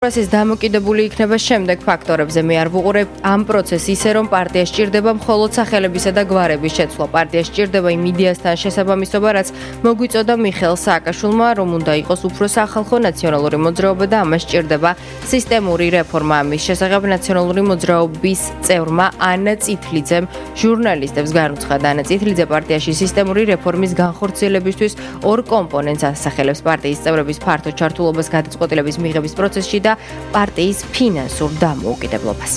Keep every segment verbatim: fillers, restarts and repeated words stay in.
პროცესის დამოკიდებული იქნება შემდეგ ფაქტორებზე. მე არ ვუყურებ ამ პროცესს ისე, რომ პარტია სჭირდება მხოლოდ სახელებისა და გვარების შეცვლა. პარტია სჭირდება იმ იდეასთან შესაბამისობა, რაც მოგვიწოდა მიხეილ სააკაშვილმა, რომ უნდა იყოს უფრო სახალხო ნაციონალური მოძრაობა და ამას სჭირდება სისტემური რეფორმა. ამის შესახებ ნაციონალური მოძრაობის წევრმა ანა წითლიძემ ჟურნალისტებს განუცხადა. ანა წითლიძე პარტიაში სისტემური რეფორმის განხორციელებისთვის ორ კომპონენტს ასახელებს: პარტიის წევრების ფართო ჩართულობას გადაწყვეტილების მიღების პროცესში და პარტიის ფინანსურ დამოუკიდებლობას.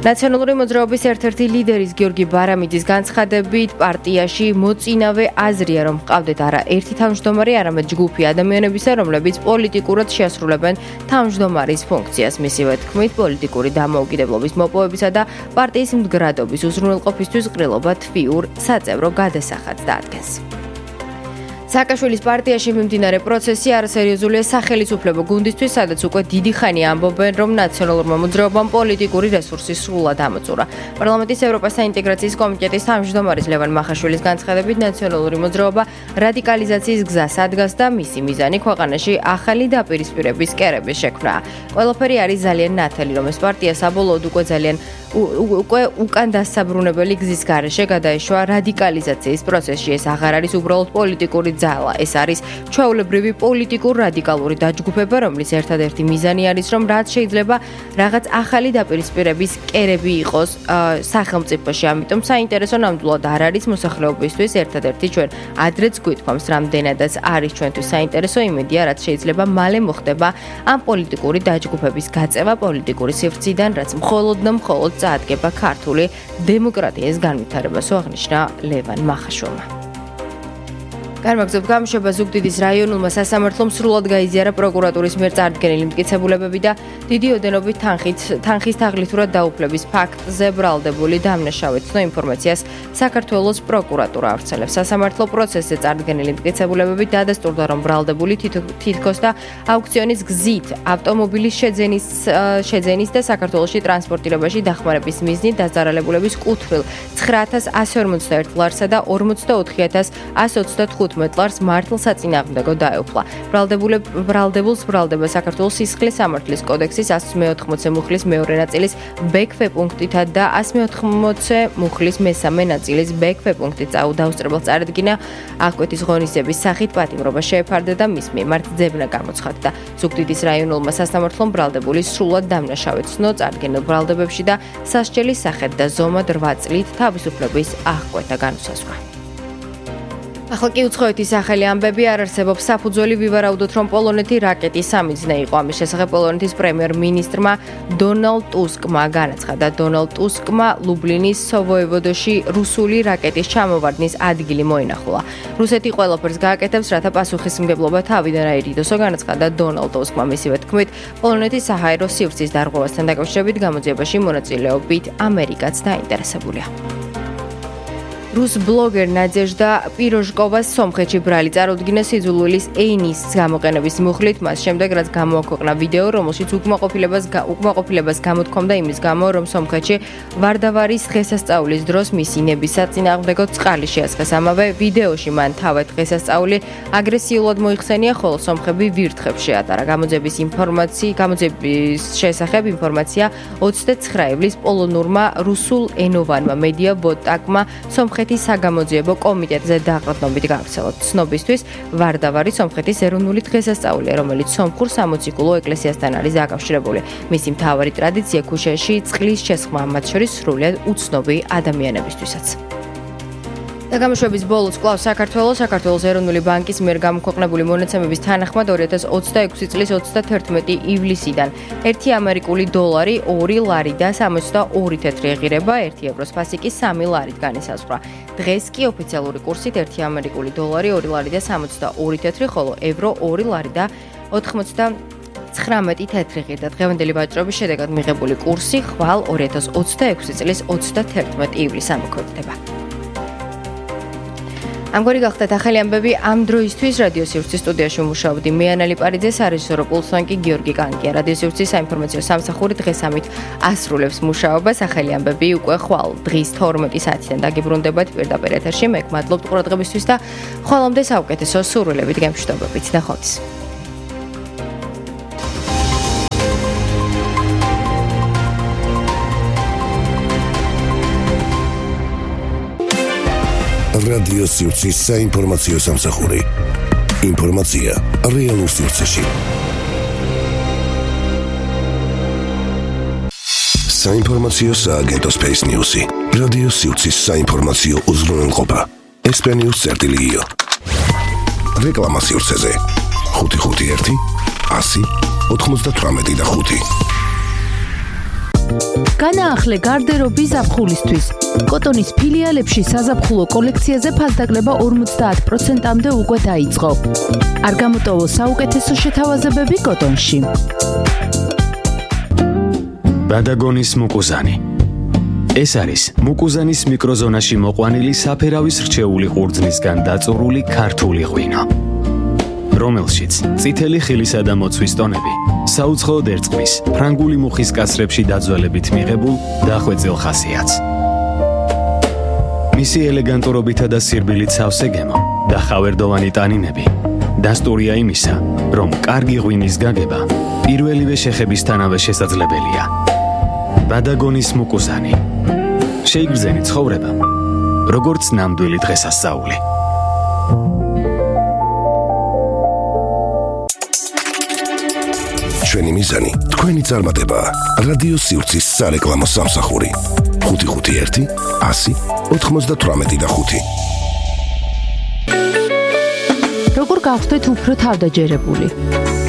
ნაციონალური მოძრაობის ერთ-ერთი ლიდერის გიორგი ბარამიძის განცხადებით, პარტიაში მოწინავე აზრია, რომ ჰყავდეთ არა ერთი თავმჯდომარე, არამედ ჯგუფი ადამიანებისა, რომლებიც პოლიტიკურად შეასრულებენ თავმჯდომარის ფუნქციას. მისივე თქმით, პოლიტიკური დამოუკიდებლობის მოპოვებისა და პარტიის მდგრადობის უზრუნველყოფისთვის ყრილობა თვიურ საწევრო გადასახადს დაადგენს. სააკაშვილის პარტიაში მიმდინარე პროცესი არასერიოზულია სახელმწიფო გუნდისთვის, სადაც უკვე დიდი ხანია ამბობენ, რომ ნაციონალურმა მოძრაობამ პოლიტიკური რესურსი სრულად ამოწურა. პარლამენტის ევროპას საინტეგრაციის კომიტეტის თავმჯდომარის ლევან მახაშვილის განცხადებით, ნაციონალური მოძრაობა რადიკალიზაციის გზას ადგას და მისი მიზანი ქვეყანაში ახალი დაპირისპირების კერების შექმნაა. ყველაფერი არის ძალიან ნათელი, რომ ეს პარტია საბოლოოდ უკვე ძალიან უკვე უკან დასაბრუნებელი გზის გარეშე გადაეშვა რადიკალიზაციის პროცესში. ეს აღარ არის უბრალოდ პოლიტიკური ძალა, ეს არის ჩვეულებრივი პოლიტიკურ რადიკალური დაჯგუფება, რომლის ერთადერთი მიზანი არის, რომ რაც შეიძლება რაღაც ახალი დაპირისპირების კერები იყოს სახელმწიფოში. ამიტომ საინტერესო ნამდვილად არ არის მოსახლეობისთვის, ერთადერთი ჩვენ ადრეც გვითქვამს, რამდენადაც არის ჩვენთვის საინტერესო იმედია, რაც შეიძლება მალე მოხდება ამ პოლიტიკური დაჯგუფების გაწევა პოლიტიკური სივრციდან, რაც მხოლოდ და მხოლოდ წაადგება ქართული დემოკრატიის განვითარებას, აღნიშნა ლევან მახაშვილმა. განმაგზავნებთ გამოშვება ზუგდიდის რაიონულმა სასამართლომ სრულად გაიზიარა პროკურატურის მიერ წარდგენილი მტკიცებულებები და დიდი ოდენობით თანხით თანხის თაღლითურად დაუფლების ფაქტზე ბრალდებული დამნაშავე ცნო ინფორმაციას საქართველოს პროკურატურა ავრცელებს. სასამართლო პროცესზე წარდგენილი მტკიცებულებებით დადასტურდა, რომ ბრალდებული თითქოს და აუქციონის გზით ავტომობილის შეძენის შეძენის და საქართველოში ტრანსპორტირებაში დახმარების მიზნით დაზარალებულების კუთვნილ ცხრა ათას ასი ორმოცდაერთ ლარსა და ორმოცდაოთხი ათას ასი ოცდათხუთმეტ ლარს მართლ საწინააღმდეგო დაეუფლა. ბრალდებულს ბრალდება საქართველოს სისხლის სამართლის კოდექსის ასი მეოთხმოცე მუხლის მეორე ნაწილის ბექფე პუნქტითა და ასი მეოთხმოცე მუხლის მესამე ნაწილის ბექფე პუნქტით დაუსწრებელს წარედგინა აღკვეთის ღონისძიების სახით პატიმრობა შეეფარდა და მის მიმართ ძებნა გამოცხადდა. ზუგდიდის რაიონულმა სასამართლომ ბრალდებულის სრულად დამნაშავე ცნო წარდგენილ ბრალდებებში და სასჯელის სახით და ზომად რვა წლით თავისუფლების აღკვეთა განუსაზღვრა. ახლა კი უცხოეთის სახელი ამბები არ არსებობს. საფუძველი ვივარაუდოთ, რომ პოლონეთი რაკეტის სამიზნე იყო. ამის შესახებ პოლონეთის პრემიერ-მინისტრმა დონალდ ტუსკმა განაცხადა. დონალდ ტუსკმა ლუბლინის სოვოევოდოში რუსული რაკეტის ჩამოვარდნის ადგილი მოინახულა. რუსეთი ყველაფერს გააკეთებს, რათა პასუხისმგებლობა თავიდან აირიდოსო, განაცხადა დონალდ ტუსკმა. მისივე თქმით, პოლონეთის საჰაერო სივრცის დარღვევასთან დაკავშირებით გამოძიებაში მონაწილეობით ამერიკაც დაინტერესებულია. რუს ბლოგერ ნადეჟდა პიროჟკოვას სომხეთში ბრალი წარუდგინა სიძულვილის ენის გამოყენების მუხლით, მას შემდეგ რაც გამოაქვეყნა ვიდეო, რომელშიც უკმაყოფილებას უკმაყოფილებას გამოთქვამდა იმის გამო, რომ სომხეთში ვარდავარის დღესასწაულის დროს მისი ნების საწინააღმდეგო წყალი შეასხეს. ამავე ვიდეოში მან თავად დღესასწაული აგრესიულად მოიხსენია, ხოლო სომხები ვირთხებს შეატარა. გამოძიების ინფორმაცია გამოძიების შესახებ ინფორმაცია ოცდაცხრა ივლის პოლონურმა რუსულ ენოვანმა მედია ბოტაკმა სომხეთის საგამოძიებო კომიტეტზე დაყრდნობით გავრცელოთ. ცნობისთვის, ვარდავარი სომხეთის ეროვნული დღესასწაულია, რომელიც სომხურ სამოციქულო ეკლესიასთან არის დაკავშირებული. მისი მთავარი ტრადიცია ქუჩაში წყლის შესხმა, მათ შორის სრულიად უცნობი ადამიანებისთვისაც. და გამოშვების ბოლოს კვლავ საქართველოს საქართველოს ეროვნული ბანკის მიერ გამოქვეყნებული მონაცემების თანახმად ორი ათას ოცდაექვსი წლის ოცდათერთმეტი ივლისიდან ერთი ამერიკული დოლარი ორი ლარი და სამოცდაორი თეთრი ეღირება ერთი ევროს ფასიკი სამი ლარით განისაზღვრა. დღეს კი ოფიციალური კურსით ერთი ამერიკული დოლარი ორი ლარი და სამოცდაორი თეთრი, ხოლო ევრო ორი ლარი და ოთხმოცდაცხრამეტი თეთრი ღირდა. დღევანდელი ვაჭრობის შედეგად მიღებული კურსი ხვალ ორი ათას ოცდაექვსი წლის ოცდათერთმეტი ივლისს ამოქმედდება. ამგვარი გახდათ ახალი ამბები ამ დროისთვის. რადიო სივრცის სტუდიაში ვმუშაობდი მე ანა ლიპარიძე, სარეჟისორო პულსვან კი გიორგი კანკია. რადიო სივრცის საინფორმაციო სამსახური დღეს ამით ასრულებს მუშაობას. ახალი ამბები უკვე ხვალ დღის თორმეტი საათიდან დაგიბრუნდებათ პირდაპირ ეთერში. მე გმადლობთ ყურადღებისთვის და ხვალამდე საუკეთესო სურვილებით გემშვიდობებით. ნახვამდის. რადიო სივრცის საინფორმაციო სამსახური. ინფორმაცია რეალურ სივრცეში. საინფორმაციო სააგენტო Space News-ი. რადიო სივრცის საინფორმაციო უზრუნველყოფა. ესპენიუს წერტილიგიო. რეკლამა სივრცეზე. ხუთი ხუთი ერთი ასი ოთხმოცდათვრამეტი და ხუთი. განაახლე გარდერობის ზაფხულისთვის. კოტონის ფილიალებში საზაფხულო კოლექციაზე ფასდაკლება ორმოცდაათ პროცენტამდე უკვე დაიწყო. არ გამოტოვო საუკეთესო შეთავაზებები კოტონში. ბადაგონის მუკუზანი. ეს არის მუკუზანის მიკროზონაში მოყვანილი საფერავის რჩეული ყურძნისგან დაწურული ქართული ღვინო, რომელშიც წითელი ხილისა და მოცვის ტონები საუცხოოდ ერწყმის ფრანგული მუხის კასრებში დაძველებით მიღებულ დახვეწილ ხასიათს. მისი ელეგანტურობითა და სირბილით სავსე გემო და ხავერდოვანი ტანინები დასტურია იმისა, რომ კარგი ღვინის გაგება პირველივე შეხებისთანავე შესაძლებელია. ბადაგონის მუკუზანი. შეიგრძენი ცხოვრება, როგორც ნამდვილი დღესასწაული. ჩვენი მიზანი, თქვენი წარმატება. რადიო სივრცის სარეკლამო სამსახური. ხუთი ხუთი ერთი ასი ოთხმოცდათვრამეტი და ხუთი. როგორ გავხდეთ უფრო თავდაჯერებული?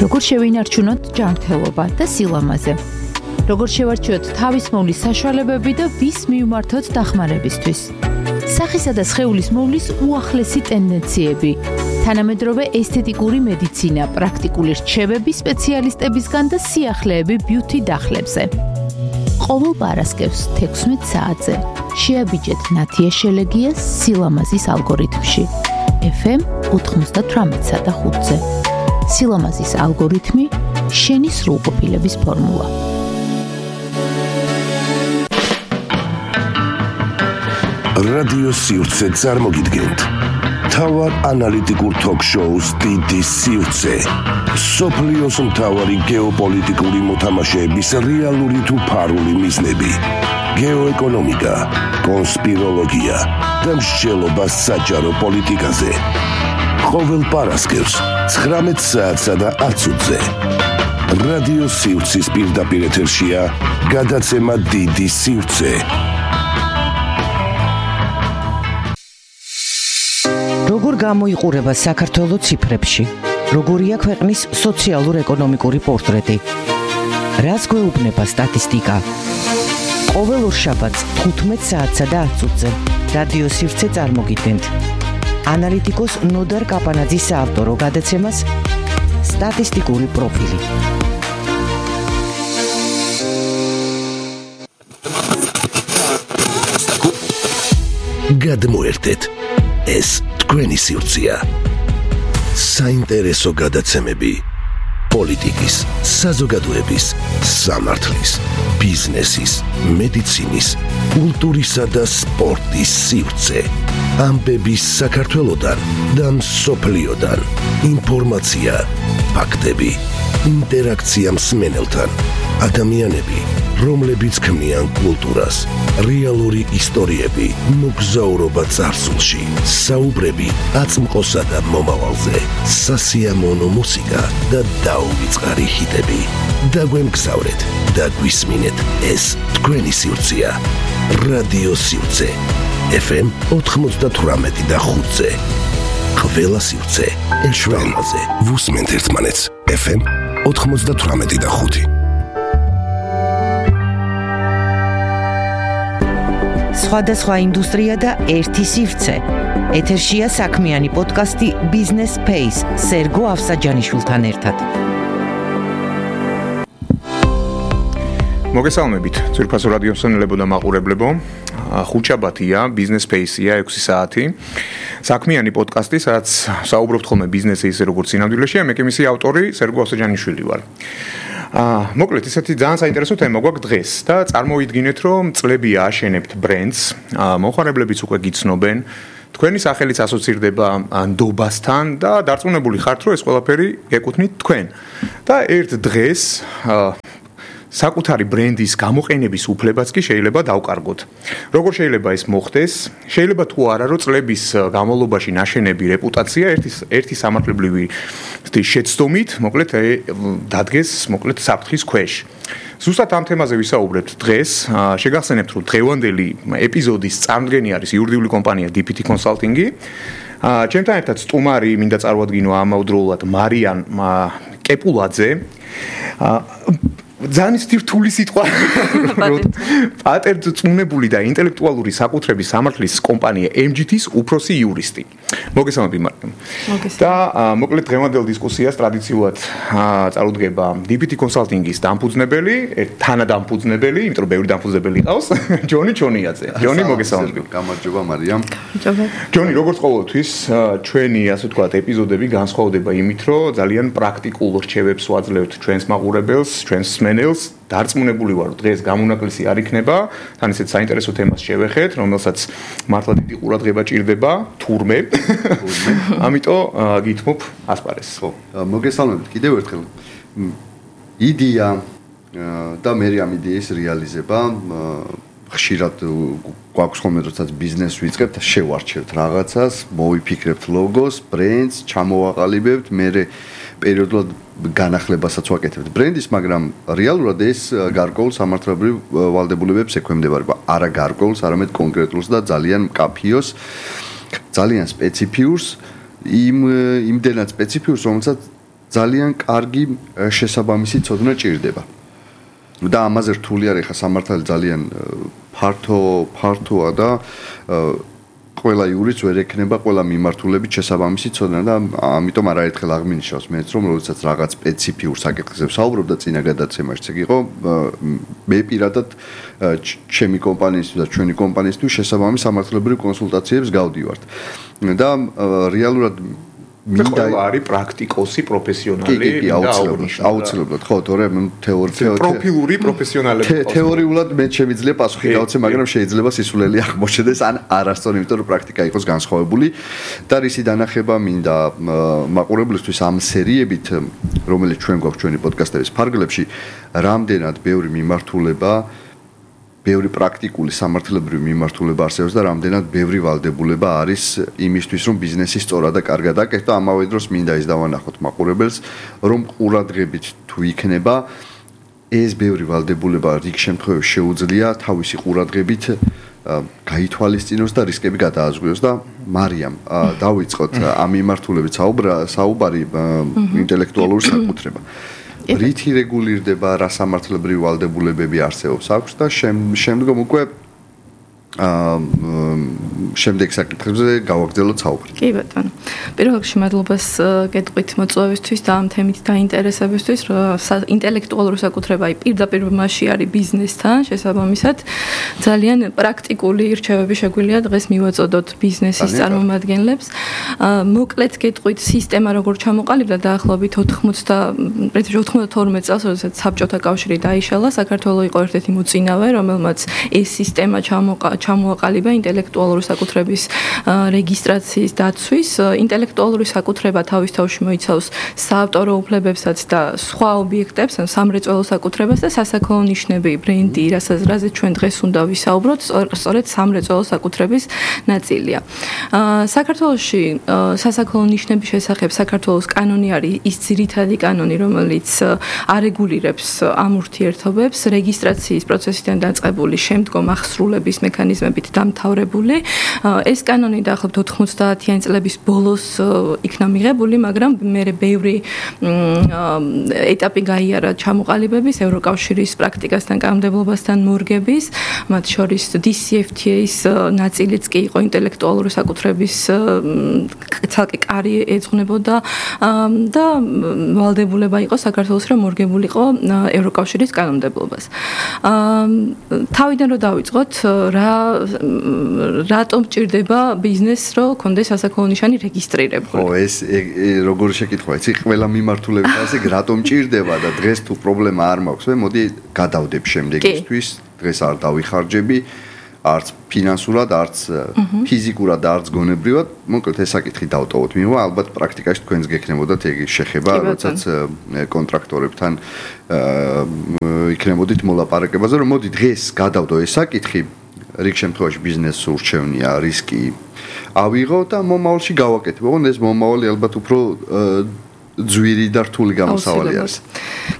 როგორ შევინარჩუნოთ ჯანმრთელობა და სილამაზე? როგორ შევარჩიოთ თავის მოვლის საშუალებები და ვის მივმართოთ დახმარებისთვის? სახისა და სხეულის მოვლის უახლესი ტენდენციები, თანამედროვე ესთეტიკური მედიცინა, პრაქტიკული რჩევები სპეციალისტებისგან და სიახლეები ბიუთი დახლებზე. ყოველ პარასკევს თექვსმეტ საათზე შეაბიჯეთ ნათია შელეგიას სილამაზის ალგორითმში ეფ ემ ოთხმოცდათვრამეტსა და ხუთზე. სილამაზის ალგორითმი, შენი სრულყოფილების ფორმულა. რადიო სივრცე წარმოგიდგენთ თავარ ანალიტიკურ თოქ-შოუს დიდი სივრცე. სოფლიოს მთავარი გეოპოლიტიკური მოთამაშეების რეალური თუ ფარული მიზნები, გეოეკონომიკა, კონსპიროლოგია და მსჯელობა საჯარო პოლიტიკაზე. ყოველ პარასკევს ცხრამეტ საათსა და ათზე რადიო სივრცის პირდაპირ ეთერშია გადაცემა დიდი სივრცე. როგორ გამოიყურება საქართველოს ციფრებში? როგორია ქვეყნის სოციალურ-ეკონომიკური პორტრეტი? რას გვეუბნება სტატისტიკა? ყოველ ორშაბათს თხუთმეტ საათსა და ათზე რადიო სივრცე წარმოგიდგენთ ანალიტიკოს ნოდარ კაპანაძის საავტორო გადაცემას სტატისტიკური პროფილი. გადმოერთეთ, ეს თქვენი სივრცეა. საინტერესო გადაცემები პოლიტიკის, საზოგადოების, სამართლის, ბიზნესის, მედიცინის, კულტურისა და სპორტის სივრცე. ამბები საქართველოდან და მსოფლიოდან. ინფორმაცია, ფაქტები, ინტერაქცია მსმენელთან. ადამიანები, რომლებიც ქმნიან კულტურას, რეალური ისტორიები, მოგზაურობა წარსულში, საუბრები აწმყოსა და მომავალზე, სასიამოვნო მუსიკა და დაუვიწყარი ჰიტები. დაგვემგზავრეთ და გვისმინეთ, ეს თქვენი სივრცეა. რადიო სივრცე ეფ ემ ოთხმოცდათვრამეტი და ხუთზე. ყველა სივრცე ჩვენაზე. ვუსმენთ ერთმანეთს ეფ ემ ოთხმოცდათვრამეტი და ხუთი. სხვადასხვა ინდუსტრია და ერთი სივრცე. ეთერშია საქმიანი პოდკასტი Business Space სერგო ავსაჯანიშვილთან ერთად. მოგესალმებით, ძვირფასო რადიო მსმენელებო და მაყურებლებო. ხუთშაბათია, Business Space-ია ექვსი საათი. საქმიანი პოდკასტი, სადაც საუბრობთ ხოლმე ბიზნესზე ისე როგორც სინამდვილეში, მე კი მისი ავტორი სერგო ავსაჯანიშვილი ვარ. აა, მოკლედ, ესეთი ძალიან საინტერესო თემა გვაქვს დღეს და წარმოვიდგინეთ, რომ წლებია აშენებთ ბრენდს, მოხარებლებიც უკვე გიცნობენ, თქვენი სახელიც ასოცირდება ნდობასთან და დარწმუნებული ხართ, რომ ეს ყველაფერი ეკუთვნით თქვენ. და ერთ დღეს აა საკუთარი ბრენდის გამოყენების უფლებაც კი შეიძლება დავკარგოთ. როგორ შეიძლება ეს მოხდეს? შეიძლება თუ არა, რომ წლების განმავლობაში ნაშენები რეპუტაცია ერთი ერთი სამართლებრივი შეცდომით, მოკლედ დადგეს, მოკლედ საფრთხის ქვეშ. ზუსტად ამ თემაზე ვისაუბრებთ დღეს. შეგახსენებთ, რომ დღევანდელი ეპიზოდის წამდგენი არის იურიდიული კომპანია დი პი ტი Consulting-ი. ჩემთან ერთად სტუმარი მინდა წარუადგინო ამავდროულად მარიან კეპულაძე. ძალიან რთული სიტყვა. პატენტწმუნებული და ინტელექტუალური საკუთრების სამართლის კომპანია ემ ჯი თის უფროსი იურისტი. მოგესალმებით მარიამ. და მოკლედ დღევანდელ დისკუსიას ტრადიციულად წარუდგება დი პი ტი Consulting-ის დამფუძნებელი, თანადამფუძნებელი, იმიტომ რომ ბევრი დამფუძნებელი ყავს, ჯონი ჩონიაძე. ჯონი მოგესალმებით. გამარჯობა მარიამ. ჯონი, როგორც ყოველთვის, ჩვენი ასე ვთქვათ ეპიზოდები განსხვავდება იმით, რომ ძალიან პრაქტიკულ რჩევებს ვაძლევთ ჩვენს მაყურებელს, ჩვენს ნელს დარწმუნებული ვარ, რომ დღეს გამონაკლისი არ იქნება, თან ისეთ საინტერესო თემას შევეხეთ, რომელსაც მართლა დიდი ყურადღება ჭირდება, თურმე. ამიტომ გითმობ ასპარეს. ხო, მოგესალმებით კიდევ ერთხელ. იდეა და მე ამ იდეის რეალიზება ხშირად გვაქვს ხოლმე, როდესაც ბიზნესს ვიწყებთ, შევარჩევთ რაღაცას, მოვიფიქრებთ ლოგოს, ბრენდს, ჩამოვაყალიბებთ, მე პერიოდულად განახლებასაც ვაკეთებთ ბრენდის, მაგრამ რეალურად ეს გარკვეულ სამართლებრივ ვალდებულებებს ექვემდებარება. არა გარკვეულს, არამედ კონკრეტულს და ძალიან მკაფიოს, ძალიან სპეციფიურს, იმ იმდენად სპეციფიურს, რომელსაც ძალიან კარგი შესაბამისი ცოდნა ჭირდება. და ამაზე რთული არის ხა სამართალი ძალიან ფართო ფართოა და ყველა იურისტს ვერ ექნება ყველა მიმართულებით შესაბამისი ცოდნა და ამიტომ არაერთხელ აღმინიშავს მეც რომ როდესაც რაღაც სპეციფიურ საკითხებზე ვსაუბრობ და წინა გადაცემაშიც ეგ იყო მე პირადად ჩემი კომპანიისთვის და ჩვენი კომპანიისთვის შესაბამის სამართლებრივ კონსულტაციებს გავდივართ და რეალურად მინდა არის პრაქტიკოსი პროფესიონალი და აუცილებლად ხო თორე თეორია პროფილური პროფესიონალები თეორიულად მე შემიძლია პასუხი გავცე მაგრამ შეიძლება სისულელი აღმოჩნდეს ან არასწორი იმიტომ რომ პრაქტიკა იყოს განსხვავებული და რისი დანახება მინდა მაყურებლისთვის ამ სერიებით რომელიც ჩვენ გვაქვს ჩვენი პოდკასტების ფარგლებში რამდენად ბევრი მიმართულება ბევრი პრაქტიკული სამართლებრივი მიმართულება არსებობს და რამდენად ბევრი ვალდებულება არის იმისთვის, რომ ბიზნესი სწორად და კარგად აკეთო, ამავე დროს მინდა ის დავანახოთ მაყურებელს, რომ ყურადღებით თუ იქნება ეს ბევრი ვალდებულება რიგ შემთხვევებში შეუძლია თავისი ყურადღებით გაითვალისწინოს და რისკები გადააზღვიოს და მარიამ დავიწყოთ ამ მიმართულებით საუბარი ინტელექტუალური საკუთრება. რითი რეგულირდება რა სამართლებრივი ვალდებულებები არსებობს აქვს და შემდგომ უკვე აა შემდეგ საკითხებზე გავაგრძელოთ საუბარი. კი ბატონო. პირველ რიგში მადლობას გეტყვით მოწვევისთვის და ამ თემით დაინტერესებისთვის, რომ ინტელექტუალური საკუთრება პირდაპირ მასში არის ბიზნესთან შესაბამისად ძალიან პრაქტიკული რჩევები შეგვიძლია დღეს მივაწოდოთ ბიზნესის წარმომადგენლებს. მოკლედ გეტყვით სისტემა როგორ ჩამოყალიბდა დაახლოებით ოთხმოცდათორმეტ წელს, როდესაც საბჭოთა კავშირი დაიშალა, საქართველოს იყო ერთ-ერთი მოწინავე, რომელმაც ეს სისტემა ჩამოყალიბდა ჩამოაყალიბა ინტელექტუალური საკუთრების რეგისტრაციის დაცვის. ინტელექტუალური საკუთრება თავის თავში მოიცავს საავტორო უფლებებსაც და სხვა ობიექტებს, ან სამრეწველო საკუთრებას და სასაქონლო ნიშნები, ბრენდი, რასაც ჩვენ დღეს უნდა ვისაუბროთ, სწორედ სამრეწველო საკუთრების ნაწილია. საქართველოში სასაქონლო ნიშნების შესახებ საქართველოს კანონი არის ის ძირითადი კანონი, რომელიც არეგულირებს ამ ურთიერთობებს, რეგისტრაციის პროცესიდან დაწყებული შემდგომ ახსრულების მექანიზმებით დამთავრებული. ეს კანონი დაახლოებით ოთხმოცდაათიანი წლების ბოლოს იქნა მიღებული, მაგრამ მერე ბევრი ეტაპი გაიარა ჩამოყალიბების, ევროკავშირის პრაქტიკასთან კანონმდებლობასთან მორგების, მათ შორის დი სი ეფ თი ეის ნაწილიც კი იყო ინტელექტუალური საკუთრების ცალკე კარი ეძღვნებოდა და ვალდებულება იყო საქართველოს რომ მორგებულიყო ევროკავშირის კანონმდებლობას. თავიდან რომ დავიწყოთ, რა რატომ ჭირდება ბიზნესს რომ კონდეს სასაქონლო ნიშანი რეგისტრირებული? ხო, ეს როგორი შეკითხვაა, იცი, ყველა მიმართულებით ასე რატომ ჭირდება და დღეს თუ პრობლემა არ მაქვს, მე მოდი გადავდებ შემდეგისთვის, დღეს არ დავიხარჯები, არც ფინანსურად, არც ფიზიკურად, არც გონებრივად, მოკლედ ეს საკითხი დავტოვოთ. მიიღო, ალბათ პრაქტიკაში თქვენს გექნებოდათ ეგ შეხება, როდესაც კონტრაქტორებთან იქნებოდით მოლაპარაკებაზე, რომ მოდი დღეს გადავდო ეს საკითხი, რიგ შემთხვევაში ბიზნესს ურჩევნია, რისკი ავიღო და მომავალში გავაკეთებ. ოღონდ ეს მომავალი ალბათ უფრო ძვირი და რთული გამოსავალი არის.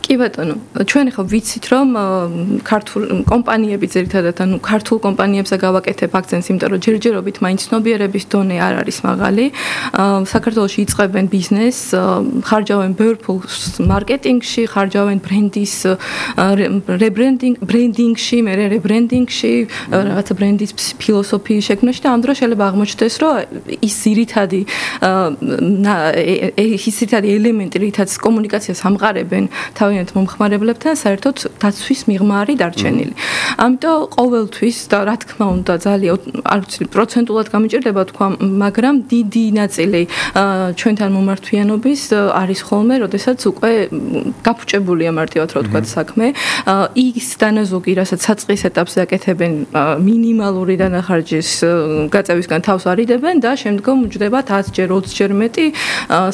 კი ბატონო, ჩვენ ხო ვიცით რომ ქართულ კომპანიები ძირითადად ანუ ქართულ კომპანიებზე გავაკეთებ აქცენტს, იმიტომ რომ ჯერჯერობით მაინც ცნობიერების დონე არ არის მაღალი. საქართველოში იწყებენ ბიზნესს, ხარჯავენ ბევრ ფულს მარკეტინგში, ხარჯავენ ბრენდის რებრენდინგ, ბრენდინგში, მერე რებრენდინგში, რაღაცა ბრენდის ფილოსოფიის შექმნაში და ამ დროს შეიძლება აღმოჩნდეს, რომ ის ძირითადი ის ძირითადი ელემენტი, რითაც კომუნიკაციას ამყარებენ თავიანთ მომხმარებლებთან, საერთოდ დაცვის მიღმა არის დარჩენილი. ამიტომ ყოველთვის და რა თქმა უნდა ძალიან არ ვიცი პროცენტულად გამიჭირდება თქვა, მაგრამ დიდი ნაწილი ჩვენთან მომართვიანობის არის ხოლმე, როდესაც უკვე გაფუჭებულია მარტივად რა ვთქვათ საქმე. ის დანაზოგი, რასაც საწყის ეტაპზე აკეთებენ, მინიმალური დანახარჯის გაწევისგან თავს არიდებენ და შემდგომ უჯდება ათი ჯერ ოცი ჯერ მეტი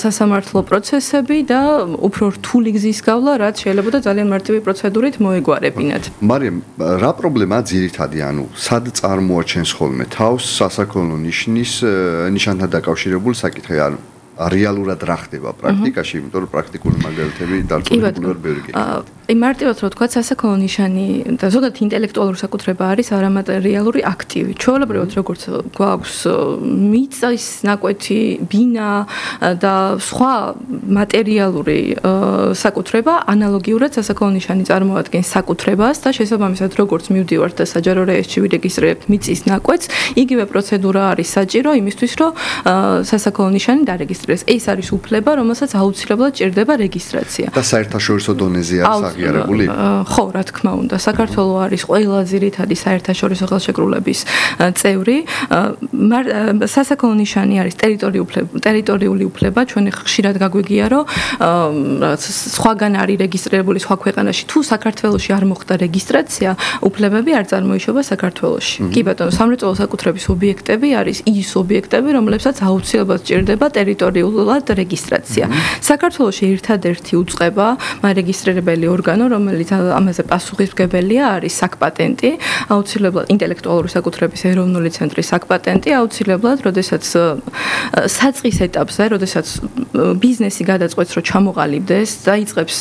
სასამართლო პროცესები და უფრო რთული გზის გავლა, რაც შეიძლება და ძალიან მარტივი პროცედურით მოეგვარებინათ. მარიამ, რა პრობლემაა ძირითადი, ანუ სად წარმოაჩენს ხოლმე თავს სასაქონლო ნიშნის ნიშანთან დაკავშირებული საკითხი, ანუ რეალურად რა ხდება პრაქტიკაში, იმიტომ რომ პრაქტიკული მაგალითები დარწმუნებული ვარ ბევრი გეკითხა. აი მარტივად რა ვთქვა, სასაქონლო ნიშანი და ზოგადად ინტელექტუალური საკუთრება არის არამატერიალური აქტივი. ჩვეულებრივად როგორც გვაქვს მიწის ნაკვეთი, ბინა და სხვა მატერიალური საკუთრება, ანალოგიურად სასაქონლო ნიშანი წარმოადგენს საკუთრებას და შესაბამისად როგორც მივდივართ და საჯარო რეესტრში ვირეგისტრირებთ მიწის ნაკვეთს, იგივე პროცედურა არის საჭირო იმისთვის, რომ სასაქონლო ნიშანი დარეგისტრირდეს. ეს არის უფლება, რომელსაც აუცილებლად ჭირდება რეგისტრაცია. და საერთაშორისო დონეზე არის აღიარებული? ხო, რა თქმა უნდა, საქართველო არის ყველა ძირითადი საერთაშორისო ხელშეკრულების წევრი. სასაქონლო ნიშანი არის ტერიტორიული უფლება, ჩვენ ხშირად გაგვიგია, რომ სხვაგან არის რეგისტრირებული სხვა ქვეყანაში, თუ საქართველოში არ მოხდა რეგისტრაცია, უფლებები არ წარმოიშობა საქართველოში. კი ბატონო, სამრეწველო საკუთრების ობიექტები არის ის ობიექტები, რომლებსაც აუცილებლად ჭირდება ტერიტორიული რეგისტრაცია. საქართველოში ერთადერთი უწყება, მარეგისტრირებელი ორგანო, რომელიც ამაზე პასუხისმგებელია, არის საკპატენტი, აუცილებლად ინტელექტუალური საკუთრების ეროვნული ცენტრის საკპატენტი, აუცილებლად, როდესაც საწყის ეტაპზე, როდესაც ბიზნესი გადაწყვეტს, რომ ჩამოყალიბდეს და იწყებს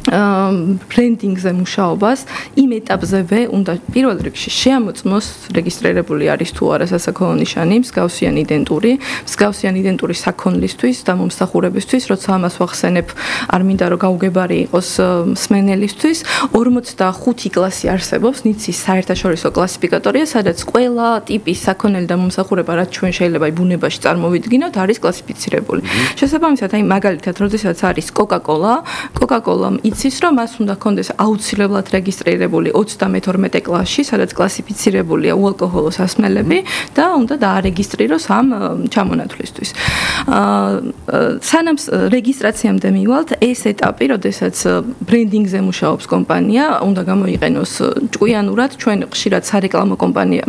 ბრენდინგზე მუშაობას, იმ ეტაპზევე უნდა პირველ რიგში შეამოწმოს რეგისტრირებული არის თუ არა სასაქონლო ნიშანი, მსგავსიან იდენტური, მსგავსიან იდენტური საქონლისთვის და მომსახურებისთვის, როცა ამას ვახსენებ, არ მინდა რომ გაუგებარი იყოს მსმენელისთვის, ორმოცდახუთი კლასი არსებობს, ნიცის საერთაშორისო კლასიფიკატორია, სადაც ყველა ტიპის საქონელი და მომსახურება, რაც ჩვენ შეიძლება ბუნებაში წარმოვიდგინოთ, არის კლასიფიცირებული. შესაბამისად, აი მაგალითად, როდესაც არის Coca-Cola, Coca-Cola იცის, რომ მას უნდა ჰქონდეს აუცილებლად რეგისტრირებული ოცდამეთორმეტე კლასში, სადაც კლასიფიცირებულია უალკოჰოლო სასმელები და უნდა დაარეგისტრიროს ამ ჩამონათვლისთვის. სანამ რეგისტრაციამდე მივალთ, ეს ეტაპი, როდესაც ბრენდინგზე მუშაობს კომპანია, უნდა გამოიყენოს ჭკვიანურად, ჩვენ ხშირად სარეკლამო კომპანია,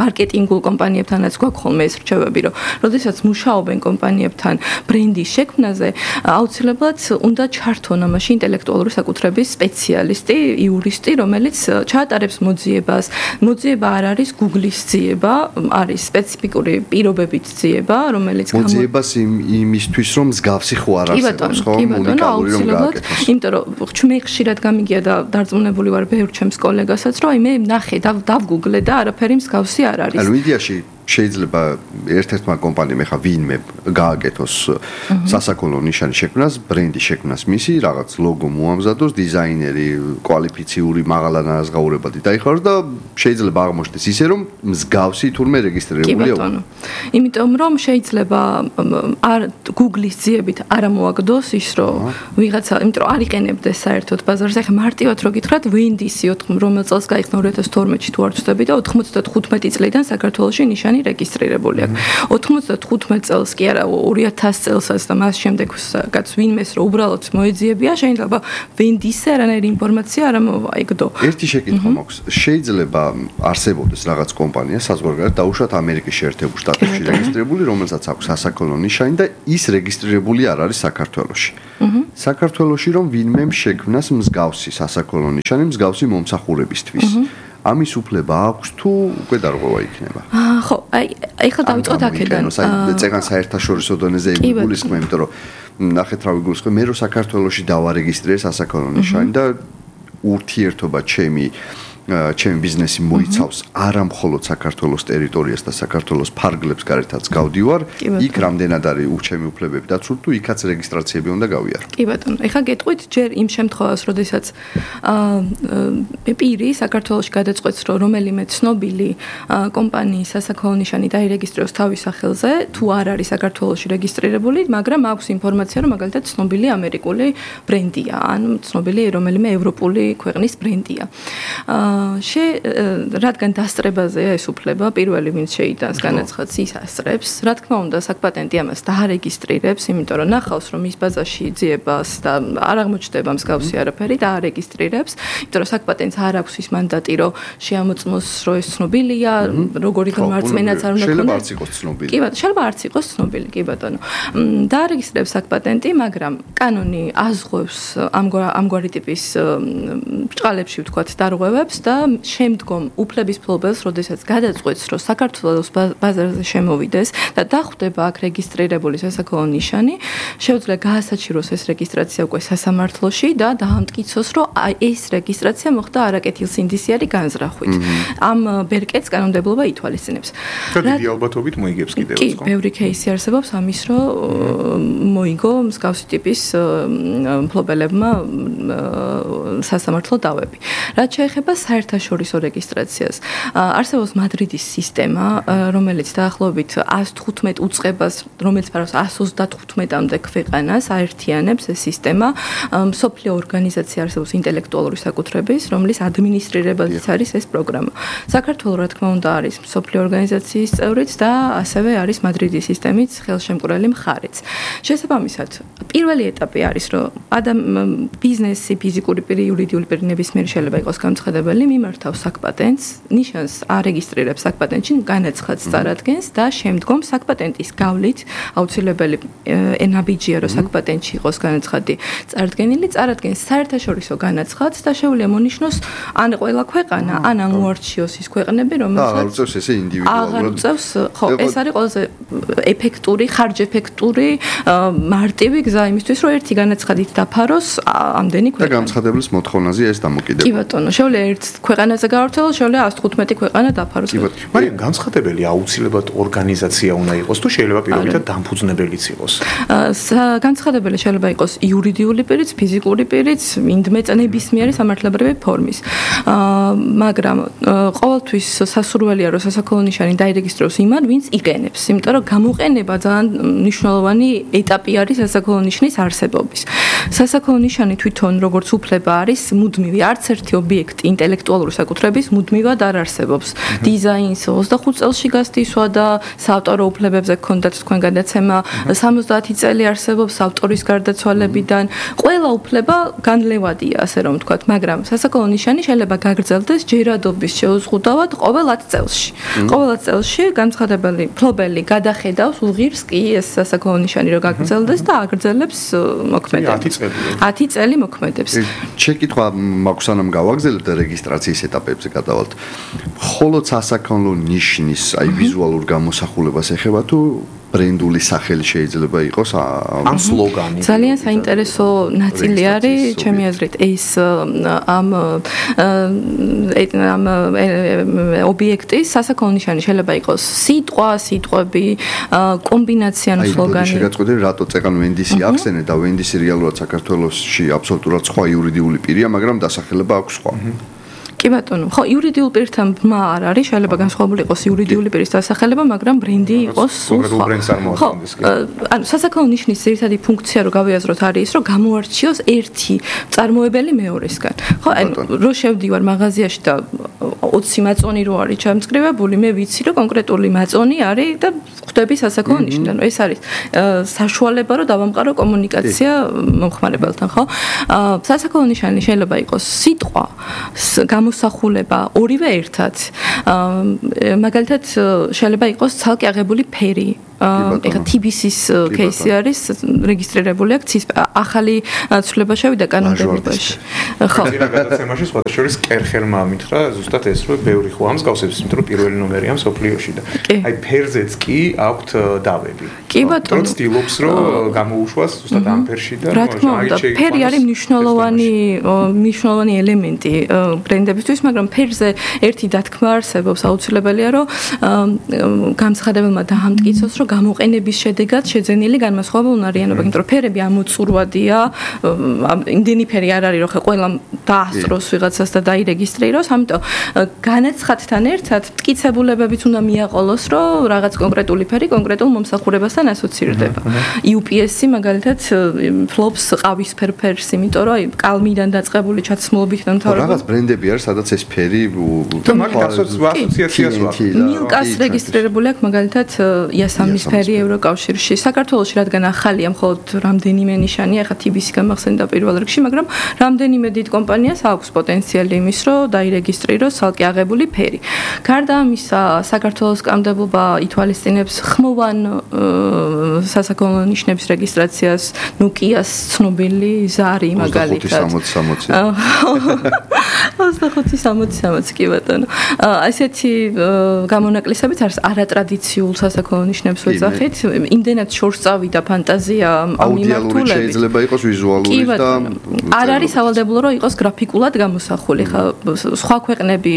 მარკეტინგულ კომპანიებთანაც გვაქვს ხოლმე ეს რჩევები, რომ როდესაც მუშაობენ კომპანიებთან ბრენდის შექმნაზე, აუცილებლად უნდა ჩართონ ამაში ინტელექტუალური საკუთრების სპეციალისტი, იურისტი, რომელიც ჩაატარებს მოძიებას. მოძიება არ არის Google-ის ძიება, არის სპეციფიკური პირობებით ძიება, რომელიც მოძიებას იმისთვის, რომ მსგავსი ხო არ არსებობს, ხო? უნიკალური რომ გააკეთოს. იმიტომ რომ მე ხშირად გამიგია და დარწმუნებული ვარ ბევრ ჩემს კოლეგასაც, რომ აი მე ნახე, დავგუგლე და არაფერი მსგავსი არ არის. ანუ იდეაში შეიძლება ერთ-ერთმა კომპანიამ ეხა ვინმე გააკეთოს სასაქონლო ნიშანის შექმნას, ბრენდის შექმნას მისი, რაღაც ლოგო მოამზადოს, დიზაინერი კვალიფიციური მაღალანაზღაურებადი დაიხაროს და შეიძლება აღმოჩნდეს ისე, რომ მსგავსი თურმე რეგისტრირებულია. კი ბატონო. იმიტომ რომ შეიძლება არ Google-ის ძიებით არ მოაგდოს ის, რომ ვიღაცა, იმიტომ რომ არ იყენებდეს საერთოდ ბაზარზე. ეხლა მარტივად რო გითხრათ, Windows-ი რომელ წელს გაიხსნა ორი ათას თორმეტში თუ არ ვცდები და ოთხმოცდათხუთმეტი წლიდან საქართველოში ნიშანი რეგისტრირებული აქვს. ოთხმოცდათხუთმეტი წელს კი არა, ორი ათასი წელსაც და მას შემდეგაც ვინმეს რო უბრალოდ მოეძიებია, შეიძლება Windows-ზე არანაირი ინფორმაცია არ მოაიგდო. ერთი შეკითხვა მაქვს. შეიძლება არსებობდეს რაღაც კომპანია საზღვარგარეთ დაუშვათ ამერიკის შეერთებულ შტატებში რეგისტრირებული, რომელსაც აქვს სასაქონლო ნიშანი და ის რეგისტრირებული არ არის საქართველოში. საქართველოში რომ ვინმემ შექმნას მსგავსი სასაქონლო ნიშანი მსგავსი მომსახურებისთვის. ამის უფლება აქვს თუ უკვე დარღვევა იქნება? აა ხო, აი ეხლა დავიწყოთ აქედან. აი წეგან საერთაშორისო დონეზე იგულისხმე, იმიტომ რომ ნახეთ რა ვიგულისხმე, მე რო საქართველოში დავარეგისტრირე სასაქონლო ნიშანი და ურთიერთობა ჩემი ჩემი ბიზნესი მოიცავს არა მხოლოდ საქართველოს ტერიტორიას და საქართველოს ფარგლებს გარეთაც გავდივარ, იქ რამდენად არის უჩემი უფლებები დაცული თუ იქაც რეგისტრაციები უნდა გავიარო. კი ბატონო, ეხლა გეტყვით ჯერ იმ შემთხვევას, როდესაც აა პირი საქართველოში გადაწყვეტს, რომ რომელიმე ცნობილი კომპანიის სასაქონლო ნიშანი დაირეგისტრიროს თავის სახელზე, თუ არ არის საქართველოში რეგისტრირებული, მაგრამ აქვს ინფორმაცია, რომ მაგალითად ცნობილი ამერიკული ბრენდია, ან ცნობილი რომელიმე ევროპული ქვეყნის ბრენდია. აა შე რადგან დასწრებაზეა ეს უფლება, პირველი ვინც შეიტანს განაცხადს ის ასწრებს, რა თქმა უნდა, საკპატენტი ამას დაარეგისტრირებს, იმიტომ რომ ნახავს, რომ ის ბაზაში ძიებას და არ აღმოჩნდება მსგავსი არაფერი და არეგისტრირებს, იმიტომ რომ საკპატენტს არ აქვს ის მანდატი, რომ შეამოწმოს, რომ ეს ცნობილია, როგორი განმარწმენაც არ უნდა ქონდეს. შეიძლება არც იყოს ცნობილი. კი ბატონო, შეიძლება არც იყოს ცნობილი, კი ბატონო. დაარეგისტრირებს საკპატენტი, მაგრამ კანონი აზღვევს ამგვარი ტიპის ბრჭყალებში ვთქვათ დარღვევებს და შემდგომ უფლების ფლობელს, როდესაც გადაწყვეტს, რომ საქართველოს ბაზარზე შემოვიდეს და დახვდება აქ რეგისტრირებული სასაქონლო ნიშანი, შეუძლია გაასაჩიროს ეს რეგისტრაცია უკვე სასამართლოში და დაამტკიცოს, რომ ეს რეგისტრაცია მოხდა არაკეთილსინდისიერი განზრახვით. ამ ბერკეტს კანონმდებლობა ითვალისწინებს. და დიდი ალბათობით მოიგებს კიდევ კი, ბევრი кейსი არსებობს ამის, რომ მოიგო მსგავსი ტიპის მფლობელებმა სასამართლო დავები. რაც შეეხება საერთაშორისო რეგისტრაციას. არსებობს მადრიდის სისტემა, რომელიც დაახლოებით εκατს თხუთმეტ უწყებას, რომელიც ფარავს εκατს ოცდათხუთმეტამდე ქვეყანას აერთიანებს ეს სისტემა. მსოფლიო ორგანიზაცია არსებობს ინტელექტუალური საკუთრების, რომლის ადმინისტრირებადიც არის ეს პროგრამა. საქართველო რა თქმა უნდა არის მსოფლიო ორგანიზაციის წევრიც და ასევე არის მადრიდის სისტემის ხელშემკვრელი მხარეც. შესაბამისად, პირველი ეტაპი არის, რომ ადამ ბიზნესი, ფიზიკური პირი, იურიდიული პირი ნებისმიერი შეიძლება იყოს განცხადებელი, მიმართავს საკპატენტს, ნიშანს არეგისტრირებს საკპატენტში, განაცხადს წარადგენს და შემდგომ საკპატენტის გავლით აუცილებელი ენაბიჯია, რომ საკპატენტში იყოს განაცხადი წარდგენილი, წარადგენს საერთაშორისო განაცხადს და შეუძლია მონიშნოს ან ყველა ქვეყანა, ან ან უარჩიოს ის ქვეყნები, რომელსაც აღარ უწევს ესე ინდივიდუალურად. აღარ უწევს, ხო, ეს არის ყველაზე ეფექტური, ხარჯ-ეფექტური, მარტივი გზა იმისთვის, რომ ერთი განაცხადით დაფაროს ამდენი ქვეყანა. და განცხადებლის მოთხოვნაზე ეს დამოკიდებული. კი ბატონო, შეუძლია ერთ ქვეყანაზე გავრცელოს, შეუძლია εκατს თხუთმეტი ქვეყანა დაფაროს. მაგრამ განცხადებელი აუცილებლად ორგანიზაცია უნდა იყოს, თუ შეიძლება პირობითად დამფუძნებელიც იყოს. განცხადებელი შეიძლება იყოს იურიდიული პირიც, ფიზიკური პირიც, ინდმეწნებისმიერი სამართლებრივი ფორმის. მაგრამ ყოველთვის სასურველია, რომ სასაქონლო ნიშანი დაირეგისტრიროს იმან, ვინც იყენებს, იმიტომ რომ გამოყენება ძალიან მნიშვნელოვანი ეტაპი არის სასაქონლო ნიშნის არსებობის. სასაქონლო ნიშანი თვითონ როგორც უფლება არის მუდმივი, არც ერთი ობიექტი ინტელექტუალური საკუთრების მუდმივად არ არსებობს. დიზაინს ოცდახუთ წელში გასდისვა და საავტორო უფლებებზე გქონდათ თქვენ გადაცემა, სამოცდაათი წელი არსებობს ავტორის გარდაცვალებიდან. ყველა უფლება განლევადია, ასე რომ ვთქვათ, მაგრამ სასაქონლო ნიშანი შეიძლება გაგრძელდეს ჯერადობის შეუზღუდავად ყოველ ათ წელში. ყოველ ათ წელში განცხადებელი ფლობელი გადახედავს უღირს კი ეს სასაქონლო ნიშანი რომ გაგრძელდეს და აგრძელებს მოქმედებას. ათი წელი. ათი წელი მოქმედებს. შეკითხვა მაქვს სანამ გავაგზავნებთ და რეგისტრაციის ეტაპებზე გადავალთ. მხოლოდ სასაქონლო ნიშნის, აი ვიზუალურ გამოსახულებას ეხება თუ ბრენდული სახელი შეიძლება იყოს ამ სლოგანი. ძალიან საინტერესო ნაწილი არის, ჩემი აზრით, ეს ამ ამ ობიექტის სასაქონლო ნიშანი შეიძლება იყოს სიტყვა, სიტყვები, კომბინაცია ან სლოგანი. აი, შეგაწყვეტე, რატო წეგან ვენდისი ახსენე და ვენდისი რეალურად საქართველოში აბსოლუტურად სხვა იურიდიული პირია, მაგრამ დასახელება აქვს სხვა. კი ბატონო, ხო, იურიდიულ პირთან ბმა არ არის, შეიძლება განსხვავებული იყოს იურიდიული პირის დასახელება, მაგრამ ბრენდი იყოს სულ სხვა. ხო, ანუ სასაქონლო ნიშნის ერთადი ფუნქცია რო გავიაზროთ არის ის, რომ გამოარჩიოს ერთი წარმოებელი მეორესგან. ხო, ანუ რო შევდივარ მაღაზიაში და ოცი მაწონი რო არის ჩამწკრივებული, მე ვიცი, რომ კონკრეტული მაწონი არის და ხვდები სასაქონლო ნიშნით. ანუ ეს არის საშუალება, რომ დავამყარო კომუნიკაცია მომხმარებელთან, ხო? სასაქონლო ნიშანი შეიძლება იყოს სიტყვა, მოსახულება ორივე ერთად. მაგალითად შეიძლება იყოს ცალკე აღებული ფერი. ეხლა T B C-ის кейსი არის რეგისტრირებული აქ ახალი ცვლილება შევიდა კანონმდებლობაში. ხო. ძირა გადაცემაში სხვათა შორის კერხერმა მითხრა ზუსტად ეს რომ ბევრი ხო ამსგავსებს, იმიტომ რომ პირველი ნომერია მსოფლიოში და აი ფერზეც კი აქვთ დავები. კი ბატონო. რო ცდილობს რომ გამოუშვას ზუსტად ამ ფერში და რა თქმა უნდა, ფერი არის მნიშვნელოვანი მნიშვნელოვანი ელემენტი ბრენდებისთვის, მაგრამ ფერზე ერთი დათქმა არსებობს, აუცილებელია რომ გამცხადებელმა დაამტკიცოს, რომ გამოყენების შედეგად შეძენილი განმასხვავებელ უნარიანობა, იმიტომ რომ ფერები ამოწურვადია, იმდენი ფერი არ არის, რომ ხე ყველა დაასწროს ვიღაცას და დაირეგისტრიროს, ამიტომ განაცხადთან ერთად მტკიცებულებებიც უნდა მიაყოლოს, რომ რაღაც კონკრეტული ფერი კონკრეტულ მომსახურებასთან ასოცირდება. U P S-ი მაგალითად ფლობს ყავისფერ ფერს, იმიტომ რომ აი კალმიდან დაწყებული ჩაცმულობით და მთავრობა რაღაც ბრენდები არის, სადაც ეს ფერი და მაგით ასოციაციას ვაქვს. მილკას რეგისტრირებული აქვს მაგალითად იასამნის ფერი ევროკავშირში. საქართველოში რადგან ახალია მხოლოდ რამდენიმე ნიშანია, ახლა T B C გამახსენდა პირველ რიგში, მაგრამ რამდენიმე დიდ კომპანიას აქვს პოტენციალი იმის, რომ დაირეგისტრიროს ცალკე აღებული ფერი. გარდა ამისა, საქართველოს კანონმდებლობა ითვალისწინებს ხმოვან სასაქონლო ნიშნების რეგისტრაციას, ნუკიას ცნობილი ზარი მაგალითად. ოცდახუთი სამოცი სამოცი კი ბატონო. ასეთი გამონაკლისებით არის არატრადიციულ სასაქონლო ნიშნებს ვეძახით. იმდენად შორს წავიდა ფანტაზია ამ მიმართულებით. შეიძლება იყოს ვიზუალური და არ არის სავალდებულო რომ იყოს გრაფიკულად გამოსახული. ხა სხვა ქვეყნები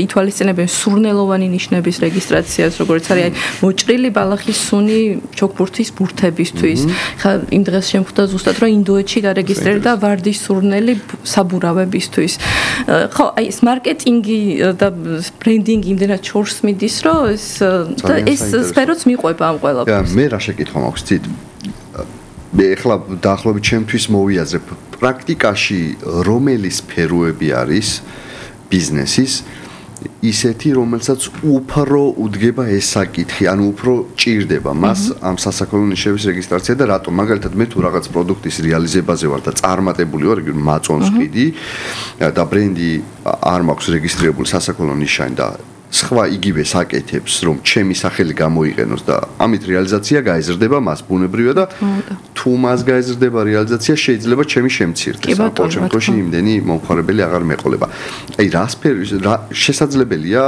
ითვალისწინებენ სურნელოვანი ნიშნების რეგისტრაციას, როგორც არის მოჭრილი ბალახის სუნი ჩოქბურთის ბურთებისთვის. ხა იმ დღეს შემხვდა ზუსტად რომ ინდოეთში დარეგისტრირდა ვარდის სურნელი საბურავებისთვის. ხო, აი ეს მარკეტინგი და ბრენდინგი იმდენად შორს მიდის, რომ ეს და ეს სფეროც მიყვება ამ ყველაფერს. მე რა შეკითხვა მაქვს ცით? მე ახლა დაახლოებით ჩემთვის მოვიაზრებ პრაქტიკაში რომელი სფეროები არის ბიზნესის ისეთი, რომელსაც უფრო უდგება ეს საკითხი, ანუ უფრო ჭირდება მას ამ სასაქონლო ნიშნების რეგისტრაცია და რატომ? მაგალითად, მე თუ რაღაც პროდუქტის რეალიზებაზე ვარ და წარმატებული ვარ, მაწონს ყიდი და ბრენდი არ მაქვს რეგისტრირებული სასაქონლო ნიშანი და სხვა იგივე საკეთებს, რომ ჩემი სახელი გამოიყენოს და ამით რეალიზაცია გაიზრდება მას ბუნებრივია და თუ მას გაიზრდება რეალიზაცია შეიძლება ჩემი შემცირდეს. ამ შემთხვევაში იმდენი მომხმარებელი აღარ მეყოლება. აი რა სფერო შესაძლებელია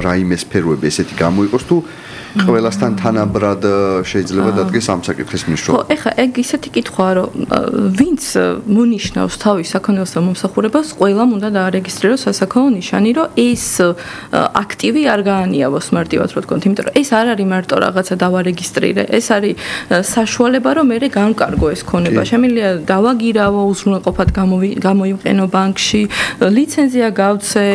რაიმე სფეროები ესეთი გამოიყოს თუ ყველასთან თანაბრად შეიძლება დადგეს ამ საკითხის მნიშვნელობა. ხო, ეხლა ეგ ისეთი კითხვაა, რომ ვინც მონიშნავს თავის საქონელს და მომსახურებას, ყველამ უნდა დაარეგისტრიროს სასაქონლო ნიშანი, რომ ეს აქტივი არ გაანიავოს მარტივად რო თქვენ, იმიტომ რომ ეს არ არის მარტო რაღაცა დავარეგისტრირე, ეს არის საშუალება, რომ მე განკარგო ეს ქონება. შემიძლია დავაგირავო, უზრუნველყოფად გამოიყენო ბანკში, ლიცენზია გავცე,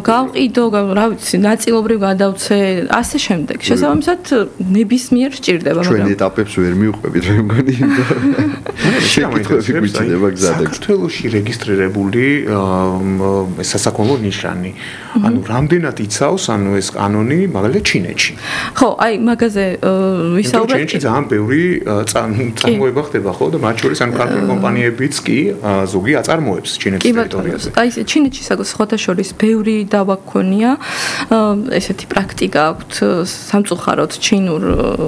გავყიდო, რა ვიცი, ნაწილობრივ გადავცე, ასე შემდეგ. შესაბამისად ნებისმიერ სჭირდება, მაგრამ ჩვენ ეტაპებს ვერ მივყვებით, მე მგონი. შეკითხვები გვიჭირდება გზადაგ. საქართველოში რეგისტრირებული სასაქონლო ნიშანი. ანუ რამდენად იცავს, ანუ ეს კანონი, მაგალითად ჩინეთში. ხო, აი მაგაზე ვისაუბრეთ. ჩინეთში ძალიან ბევრი წარმოება ხდება, ხო, და მათ შორის ანუ ქართული კომპანიებიც კი ზოგი აწარმოებს ჩინეთის ტერიტორიაზე. აი ჩინეთში სხვათა შორის ბევრი დავა გქონია. ესეთი პრაქტიკა აქვთ სამწუხაროდ ჩინურ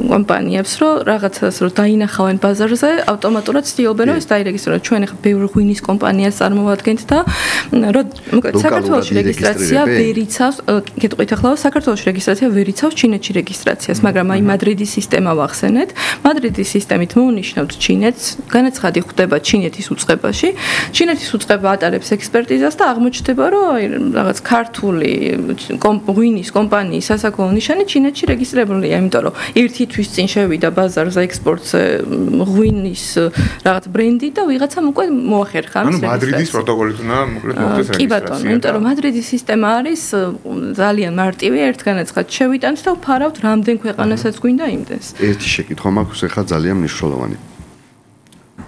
კომპანიებს, რომ რაღაცას რო დაინახავენ ბაზარზე, ავტომატურად ცდილობენ რომ ეს დაირეგისტრირონ. ჩვენ ახლა ბევრი ღვინის კომპანიას წარმოვადგენთ და რომ საქართველოს რეგისტრაცია ვერ იცავს, გეტყვით ახლა საქართველოს რეგისტრაცია ვერ იცავს ჩინეთში რეგისტრაციას, მაგრამ აი მადრიდის სისტემა ვახსენეთ. მადრიდის სისტემით მოუნიშნავთ ჩინეთს, განაცხადი ხდება ჩინეთის უწყებაში. ჩინეთის უწყება ატარებს ექსპერტიზას და აღმოჩნდება, რომ აი რაღაც ქართული ღვინის კომპანიის სასაქონლო ნიშანი ჩინეთში რეგისტრირებულია, იმიტომ რომ ერთი თვის წინ შევიდა ბაზარზე ექსპორტზე ღვინის რაღაც ბრენდი და ვიღაცამ უკვე მოახერხა ამის რეგისტრაცია. ანუ მადრიდის პროტოკოლით უნდა მოკლედ მოხდეს რეგისტრაცია. კი ბატონო, იმიტომ რომ მადრიდის სისტემა არის ძალიან მარტივი, ერთ განაცხად შევიტანთ და ვფარავთ რამდენ ქვეყანასაც გვინდა იმდენს. ერთი შეკითხვა მაქვს ახლა ძალიან მნიშვნელოვანი.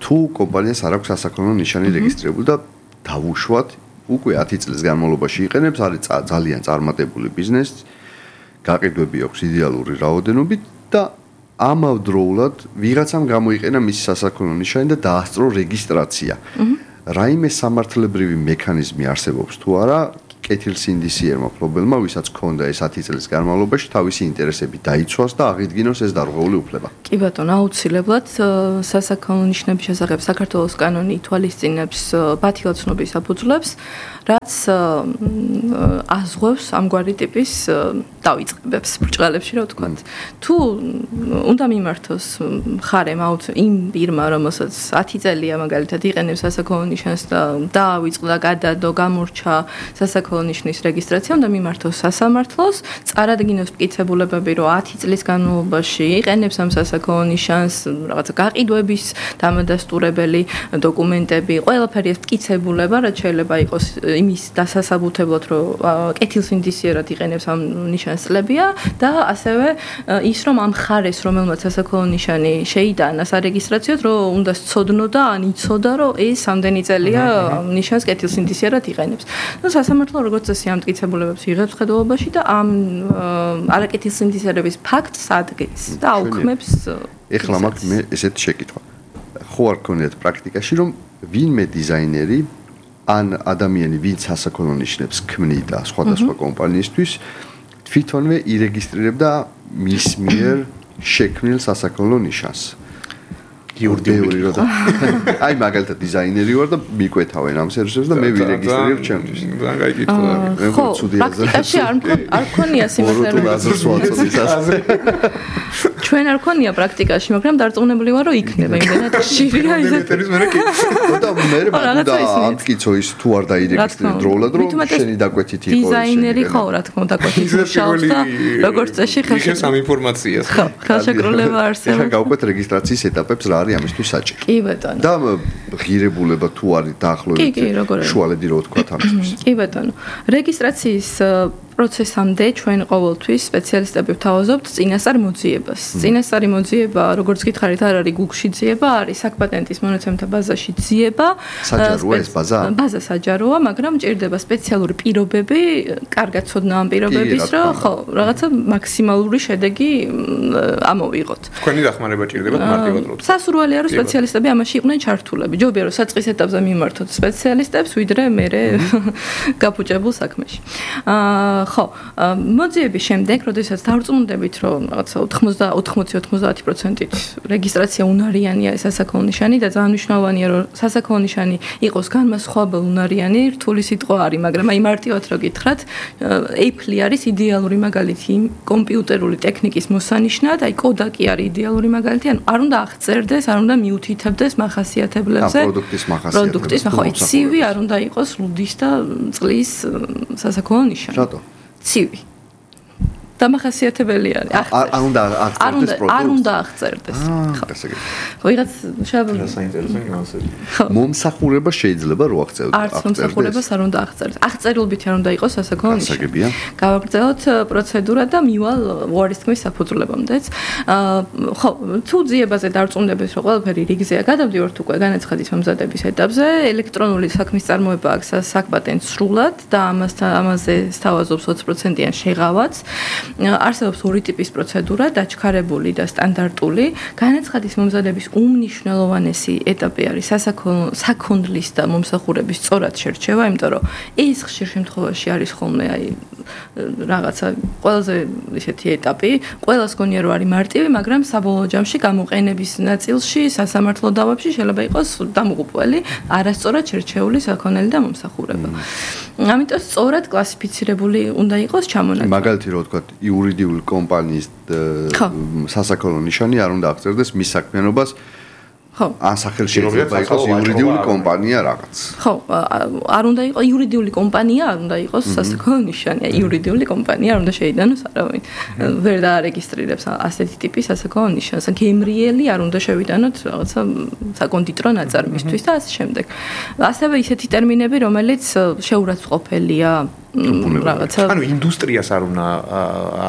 თუ კომპანიას არ აქვს სასაქონლო ნიშანი რეგისტრირებული და დავუშვათ, უკვე ათი წლის განმავლობაში იყენებს, არის ძალიან წარმატებული ბიზნესი. გაყიდვები აქვს იდეალური რაოდენობით და ამავდროულად ვიღაცამ გამოიყენა მისი სასაქონლო ნიშანი და დაასწრო რეგისტრაცია. რაიმე სამართლებრივი მექანიზმი არსებობს თუ არა კეთილსინდისიერმა მფლობელმა, ვისაც ჰქონდა ეს ათი წლის განმავლობაში თავისი ინტერესები დაიცვას და აღიდგინოს ეს დარღვეული უფლება. კი ბატონო, აუცილებლად სასაქონლო ნიშნების შესახებ საქართველოს კანონი ითვალისწინებს ბათილაცნობის საფუძვლებს, რაც აზღვევს ამგვარი ტიპის დავიწყებებს ბრჭყალებში, რა ვთქვათ. თუ უნდა მიმართოს მხარემ იმ პირმა, რომელსაც ათი წელია მაგალითად იყენებს სასაქონლო ნიშანს და დაავიწყდა, გადადო, გამორჩა სასაქონლო ნიშნის რეგისტრაცია, უნდა მიმართოს სასამართლოს, წარადგინოს მტკიცებულებები, რომ ათი წლის განმავლობაში იყენებს ამ სასაქონლო ნიშანს, რაღაცა გაყიდვების დამადასტურებელი დოკუმენტები, ყველაფერი ეს მტკიცებულება, რაც შეიძლება იყოს იმის დასასაბუთებლად, რომ კეთილსინდისიერად იყენებს ამ ნიშანს წლებია და ასევე ის, რომ ამ მხარეს, რომელმაც სასაქონლო ნიშანი შეიტანა სარეგისტრაციოდ, რომ უნდა სცოდნო და ან იცოდა, რომ ეს ამდენი წელია ნიშანს კეთილსინდისიერად იყენებს. ნუ სასამართლო როგორც წესი ამ მტკიცებულებებს იღებს ხედველობაში და ამ არაკეთილსინდისიერების ფაქტს ადგენს და აუქმებს. ეხლა მაქვს მე ესეთი შეკითხვა. ხო არ გქონიათ პრაქტიკაში, რომ ვინმე დიზაინერი ან ადამიანი, ვინც სასაქონლო ნიშნებს ქმნიდა სხვადასხვა კომპანიისთვის, თვითონვე ირეგისტრირებდა მის მიერ შექმნილ სასაქონლო ნიშანს. იურიდიული რა და აი მაგალითად დიზაინერი ვარ და მიკვეთავენ ამ სერვისებს და მე ვირეგისტრირებ ჩემთვის. ძალიან კაი კითხვა. ხო, პრაქტიკაში არ არ ქონია სიმართლე. ჩვენ არ ქონია პრაქტიკაში, მაგრამ დარწმუნებული ვარ, რომ იქნება იმდენად ხშირია ის. და მე და ამტკიცო ის თუ არ დაირეგისტრირე დროულად, რომ შენი დაკვეთით იყო. დიზაინერი ხო, რა თქმა უნდა, დაკვეთით მუშაობს და როგორც წესი ხელს ამ ინფორმაციას. ხო, ხელშეკრულება არსებობს. ეხლა გავყვეთ რეგისტრაციის ეტაპებს რა ამისთვის საჭირო. კი ბატონო. და ღირებულება თუ არის დაახლოებით შუალედი რო ვთქვა ამისთვის. კი ბატონო. რეგისტრაციის პროცესამდე ჩვენ ყოველთვის სპეციალისტები ვთავაზობთ წინასწარ მოძიებას. წინასწარი მოძიება, როგორც გითხარით, არ არის გუგლში ძიება, არის საქპატენტის მონაცემთა ბაზაში ძიება. საჯაროა ეს ბაზა? ბაზა საჯაროა, მაგრამ მჭირდება სპეციალური პირობები, კარგად ცოდნა ამ პირობების, რომ ხო, რაღაცა მაქსიმალური შედეგი ამოვიღოთ. თქვენი დახმარება ჭირდება მარტივად რო. სასურველია რომ სპეციალისტები ამაში იყვნენ ჩართულები. ჯობია რომ საწყის ეტაპზე მიმართოთ სპეციალისტებს, ვიდრე მერე გაფუჭებულ საქმეში. აა ხო, მოძიების შემდეგ, როდესაც დავწმუნდებით, რომ რაღაცა ოთხმოცი ოცდაათი პროცენტით რეგისტრაცია უნარიანია სასაქონლო ნიშანი და ძალიან მნიშვნელოვანია, რომ სასაქონლო ნიშანი იყოს განმასხვავებელი უნარიანი, რთული სიტყვა არის, მაგრამ აი მარტივად რო გითხრათ, Apple არის იდეალური მაგალითი კომპიუტერული ტექნიკის მოსანიშნად, აი კოდაკი არის იდეალური მაგალითი, ანუ არ უნდა აღწერდეს, არ უნდა მიუთითებდეს მახასიათებლებზე. პროდუქტის მახასიათებლებზე. პროდუქტის, ხო, ცივი არ უნდა იყოს ლუდის და წყლის სასაქონლო ნიშანი. რატო? ცივი. დამახასიათებელი არის. არ უნდა აღწერდეს პროდუქტს. არ უნდა აღწერდეს. ხო, გასაგებია. ხო, ვიღაც შაბლონი. საინტერესო ნიუანსები. მომსახურება შეიძლება რო აღწერდეს. არც მომსახურებას არ უნდა აღწერდეს. აღწერილობით არ უნდა იყოს სასაქონლო ნიშანი. გასაგებია. გავაგრძელოთ პროცედურა და მივალ უარის თქმის საფუძვლებამდეც. ხო, თუ ძიებაზე დარწმუნდებით, რომ ყველაფერი რიგზეა, გადავდივართ უკვე განაცხადის მომზადების ეტაპზე, ელექტრონული საქმის წარმოება აქვს საქპატენტს სრულად და ამასთან ამაზე სთავაზობს ოცი პროცენტიან შეღავაც. არსებობს ორი ტიპის პროცედურა, დაჩქარებული და სტანდარტული. განაცხადის მომზადების უმნიშვნელოვანესი ეტაპი არის სასაქონლო საქონლის და მომსახურების სწორად შერჩევა, იმიტომ რომ ეს ხშირ შემთხვევაში არის ხოლმე აი რაღაცა ყველაზე ისეთი ეტაპი, ყველას გონია რომ არის მარტივი, მაგრამ საბოლოო ჯამში გამოყენების ნაწილში სასამართლო დავებში შეიძლება იყოს დამღუპველი, არასწორად შერჩეული საქონელი და მომსახურება. ამიტომ სწორად კლასიფიცირებული უნდა იყოს ჩამონაცვლი. მაგალითი რო ვთქვათ, იურიდიული კომპანიის სასაქონლო ნიშანი არ უნდა აღწერდეს მის საქმიანობას. ხო. ან სახელში შეიძლება იყოს იურიდიული კომპანია რაღაც. ხო, არ უნდა იყოს იურიდიული კომპანია, არ უნდა იყოს სასაქონლო ნიშანი. იურიდიული კომპანია არ უნდა შეიტანოს არავინ. ვერ დაარეგისტრირებს ასეთი ტიპის სასაქონლო ნიშანს. გემრიელი არ უნდა შევიტანოთ რაღაცა საკონდიტრო ნაწარმისთვის და ასე შემდეგ. ასევე ისეთი ტერმინები, რომელიც შეურაცხყოფელია რაღაცა ანუ ინდუსტრიას არ უნდა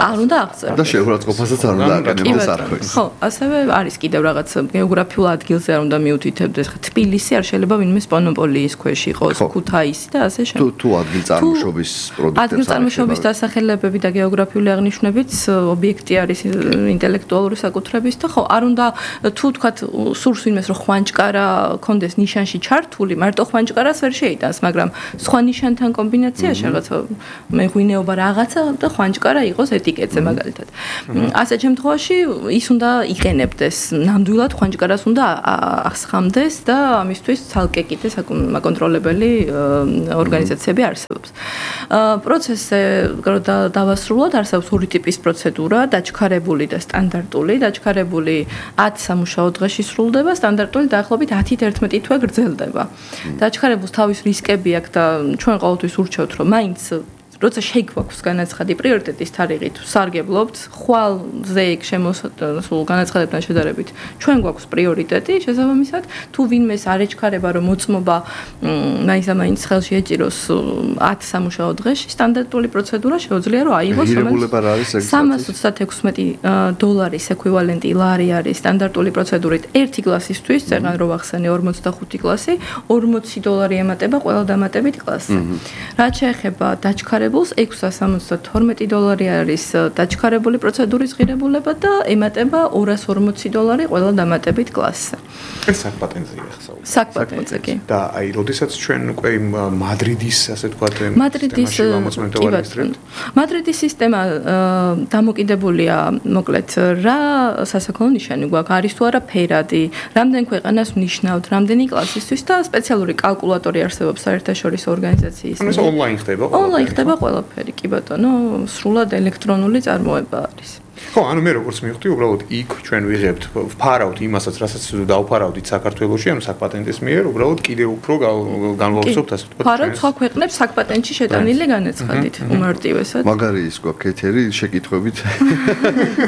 არ უნდა აღწერდეს და შეურაცხყოფასაც არ უნდა აკეთოს არხოს. ხო, ასევე არის კიდევ რაღაც გეოგრაფიულ ადგილზე არ უნდა მიუთითებდეს. თბილისი არ შეიძლება ვინმეს მონოპოლიის ქვეშ იყოს, ქუთაისი და ასე შემდეგ. თუ თუ ადგილწარმოშობის პროდუქტებს ადგილწარმოშობის დასახელებები და გეოგრაფიული აღნიშვნებიც ობიექტი არის ინტელექტუალური საკუთრების და ხო, არ უნდა თუ თქვათ სურს ვინმეს რომ ხვანჭკარა კონდეს ნიშანში ჩართული, მარტო ხვანჭკარას ვერ შეიტანს, მაგრამ სხვა ნიშანთან კომბინაციაში რაღაც რაღაცა მეღვინეობა რაღაცა და ხვანჭკარა იყოს ეტიკეტზე მაგალითად. ასეთ შემთხვევაში ის უნდა იყენებდეს, ნამდვილად ხვანჭკარას უნდა აღსხამდეს და ამისთვის ცალკე კიდე საკონტროლებელი ორგანიზაციები არსებობს. პროცესზე დავასრულოთ, არსებობს ორი ტიპის პროცედურა, დაჩქარებული და სტანდარტული. დაჩქარებული ათი სამუშაო დღეში სრულდება, სტანდარტული დაახლოებით ათით ერთმეტი თვე გრძელდება. დაჩქარებულს თავის რისკები აქვს და ჩვენ ყოველთვის ურჩევთ, რომ მაინც როცა შეიქვაქვს განაცხადი პრიორიტეტის თარიღით, სარგებლობთ, ხვალზე იქ შემოსულ განაცხადებთან შედარებით, ჩვენ გვაქვს პრიორიტეტი, შესაბამისად, თუ ვინმეს არ ეჩქარება, რომ მოწმობა მაინც და მაინც ხელში ეჭიროს ათი სამუშაო დღეში, სტანდარტული პროცედურა შეუძლია რომ აიღოს, რომელიც სამას ოცდაექვსმეტი დოლარის ეკვივალენტი ლარი არის სტანდარტული პროცედურით ერთი კლასისთვის, წეგან რო ვახსენე ორმოცდახუთი კლასი, ორმოცი დოლარი ემატება ყველა დამატებით კლასზე. რაც შეეხება დაჩქარებულს ექვსას სამოცდათორმეტი დოლარი არის დაჩქარებული პროცედურის ღირებულება და ემატება ორას ორმოცი დოლარი ყველა დამატებით კლასზე. ეს საკპატენტზეა ხსაუბრობთ. საკპატენტზე კი. და აი, როდესაც ჩვენ უკვე მადრიდის, ასე ვთქვათ, მადრიდის მადრიდის სისტემა დამოკიდებულია, მოკლედ, რა სასაქონლო ნიშანი გვაქვს, არის თუ არა ფერადი, რამდენ ქვეყანას ვნიშნავთ, რამდენი კლასისთვის და სპეციალური კალკულატორი არსებობს საერთაშორისო ორგანიზაციის. ანუ ეს ონლაინ ხდება ყველაფერი. ონლაინ ხდება ყველაფერი, კი ბატონო, სრულად ელექტრონული წარმოება არის. ხო, ანუ მე როგორც მივხვდი, უბრალოდ იქ ჩვენ ვიღებთ, ვფარავთ იმასაც, რასაც დავფარავდით საქართველოში, ანუ საკპატენტის მიერ, უბრალოდ კიდე უფრო განვავრცობთ, ასე ვთქვათ. ფარავთ სხვა ქვეყნებს საკპატენტში შეტანილი განაცხადით, უმარტივესად. მაგარი ის გვაქვს ეთერი, შეკითხვებით.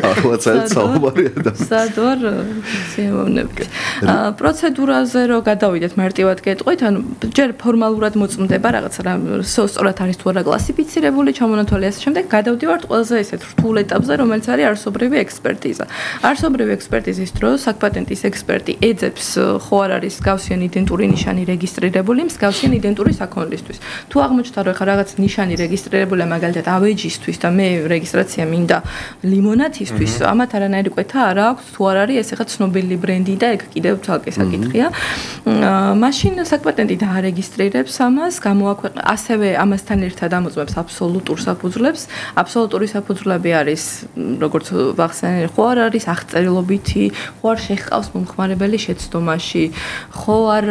აღლაცალეთ საუბარია და სად ვარ სიამოვნებით. პროცედურაზე რო გადავიდეთ მარტივად გეტყვით, ანუ ჯერ ფორმალურად მოწმდება რაღაცა რა სწორად არის თუ არა კლასიფიცირებული, ჩამონათვალი ასე შემდეგ, გადავდივართ ყველაზე ესეთ რთულ ეტაპზე, რომელიც არის არსობრივი ექსპერტიზა. არსობრივი ექსპერტიზის დროს საკპატენტის ექსპერტი ეძებს ხო არ არის მსგავსი იდენტური ნიშანი რეგისტრირებული მსგავსი იდენტური საქონლისთვის. თუ აღმოჩნდა რომ ხა რაღაც ნიშანი რეგისტრირებულია მაგალითად ავეჯისთვის და მე რეგისტრაცია მინდა ლიმონათისთვის, ამათ არანაირი კვეთა არ აქვს თუ არ არის ეს ხა ცნობილი ბრენდი და ეგ კიდევ ცალკე საკითხია. მაშინ საკპატენტი დაარეგისტრირებს ამას, გამოაქვეყნებს ასევე ამასთან ერთად ამოწმებს აბსოლუტურ საფუძვლებს. აბსოლუტური საფუძვლები არის როგორც ვახსენე, ხო არ არის აღწერილობითი, ხო არ შეხყავს მომხმარებელი შეცდომაში, ხო არ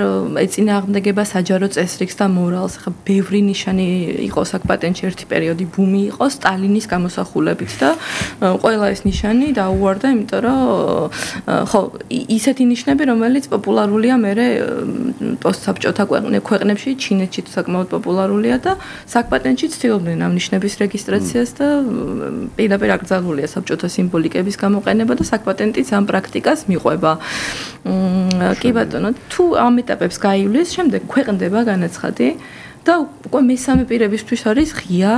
ეწინააღმდეგება საჯარო წესრიგს და მორალს. ხა ბევრი ნიშანი იყო საკპატენტში ერთი პერიოდი ბუმი იყო სტალინის გამოსახულებით და ყველა ეს ნიშანი დაუვარდა, იმიტომ რომ ხო ისეთი ნიშნები, რომელიც პოპულარულია მერე პოსტსაბჭოთა ქვეყნებში, ჩინეთში საკმაოდ პოპულარულია და საკპატენტში ცდილობდნენ ამ ნიშნების რეგისტრაციას და პირდაპირ აკრძალულია საბჭოთა სიმბოლიკების გამოყენება და საკპატენტიც ამ პრაქტიკას მიყვება. კი ბატონო, თუ ამ ეტაპებს გაივლის, შემდეგ ქვეყნდება განაცხადი და უკვე მესამე პირებისთვის არის ღია,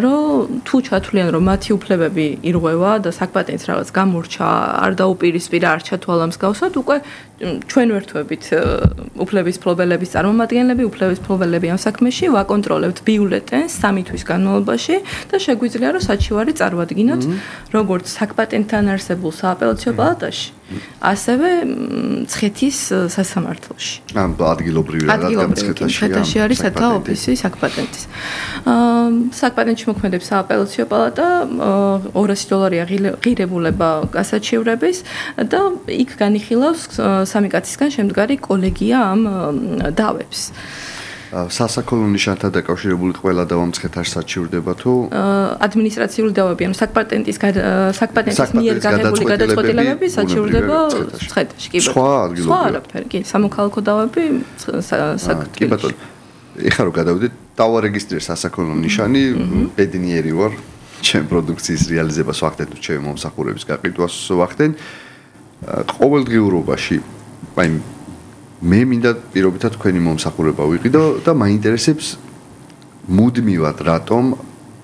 რომ თუ ჩათვლიან, რომ მათი უფლებები ირღვევა და საკპატენტს რაღაც გამორჩა, არ დაუპირისპირა, არ ჩათვალა მსგავსად, უკვე ჩვენ ვერთვებით უფლების მფლობელების წარმომადგენლები, უფლების მფლობელები ამ საქმეში ვაკონტროლებთ ბიულეტენს სამი თვის განმავლობაში და შეგვიძლია რომ საჩივარი წარვადგინოთ როგორც საკპატენტთან არსებულ სააპელაციო პალატაში, ასევე მცხეთის სასამართლოში. ამ ადგილობრივი რადგან მცხეთაში არის სათა ოფისი საკპატენტის. საკპატენტში მოქმედებს სააპელაციო პალატა, ორასი დოლარია ღირებულება გასაჩივრების და იქ განიხილავს სამი კაცისგან შემდგარი კოლეგია ამ დავებს. სასაქონლო ნიშანთან დაკავშირებული ყველა დავა მცხეთაში საჩივრდება თუ ადმინისტრაციული დავები, ანუ საკპატენტის საკპატენტის მიერ გაღებული გადაწყვეტილებები საჩივრდება მცხეთაში, კი ბატონო. სხვა ადგილობრივი. სხვა არაფერი, კი, სამოქალაქო დავები კი ბატონო. ეხლა რომ გადავიდეთ, დავარეგისტრირე სასაქონლო ნიშანი, ბედნიერი ვარ, ჩემ პროდუქციის რეალიზებას ვახდენ თუ ჩემი მომსახურების გაყიდვას ვახდენ. ყოველდღიურობაში, აი მე მინდა პირობითად თქვენი მომსახურება ვიყიდო და მაინტერესებს მუდმივად რატომ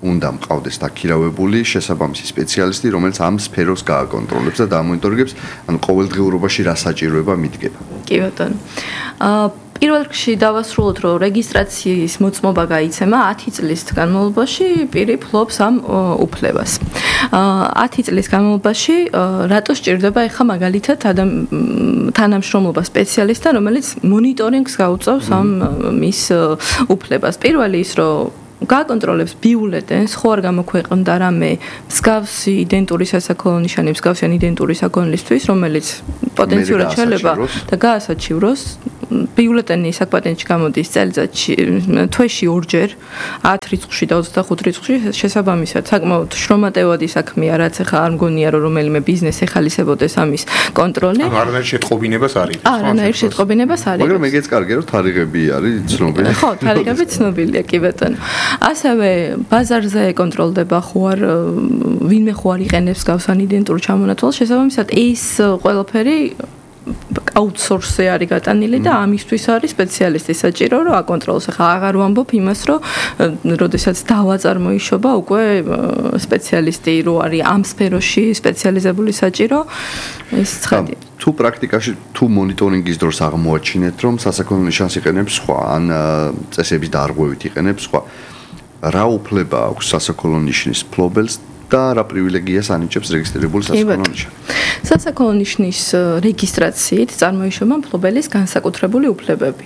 უნდა მყავდეს დაქირავებული შესაბამისი სპეციალისტი, რომელიც ამ სფეროს გააკონტროლებს და დამონიტორებს, ან ყოველდღიურობაში რა საჭიროება მიდგება. კი ბატონო. აა პირველ რიგში დავასრულოთ, რომ რეგისტრაციის მოწმობა გაიცემა ათი წლის განმავლობაში პირი ფლობს ამ უფლებას. ათი წლის განმავლობაში რატო სჭირდება ეხა მაგალითად თანამშრომლობა სპეციალისტთან, რომელიც მონიტორინგს გაუწევს ამ მის უფლებას. პირველი ის, რომ გააკონტროლებს ბიულეტენს, ხო არ გამოქვეყნდა რამე მსგავსი იდენტური სასაქონლო ნიშანი, მსგავსი იდენტური საქონლისთვის, რომელიც პოტენციურად შეიძლება და გაასაჩივროს. ბიულეტენი საკპატენტში გამოდის წელიწადში თვეში ორჯერ, ათ რიცხვში და ოცდახუთ რიცხვში შესაბამისად. საკმაოდ შრომატევადი საქმეა, რაც ახლა არ მგონია რომ რომელიმე ბიზნესი ეხალისებოდეს ამის კონტროლი. ანუ არანაირ შეტყობინებას არის. არანაირ შეტყობინებას არის. მაგრამ ეგეც კარგია რომ თარიღები არის ცნობილი. ხო, თარიღები ცნობილია კი ბატონო. ასევე ბაზარზე კონტროლდება ხო არ ვინმე ხო არ იყენებს გავსან იდენტურ ჩამონათვალს, შესაბამისად ეს ყველაფერი აუთსორსზე არის გატანილი და ამისთვის არის სპეციალისტი საჭირო რომ აკონტროლოს. ახლა აღარ ვამბობ იმას რომ როდესაც დავა წარმოიშობა უკვე სპეციალისტი რო არის ამ სფეროში სპეციალიზებული საჭირო ეს ცხადია. თუ პრაქტიკაში თუ მონიტორინგის დროს აღმოაჩინეთ რომ სასაქონლო ნიშანს იყენებს სხვა ან წესების დარღვევით იყენებს სხვა რა უფლება აქვს სასაქონლო ნიშნის ფლობელს და რა პრივილეგიას ანიჭებს რეგისტრირებული სასაქონლო ნიშანი. სასაქონლო ნიშნის რეგისტრაციით წარმოიშობა მფლობელის განსაკუთრებული უფლებები.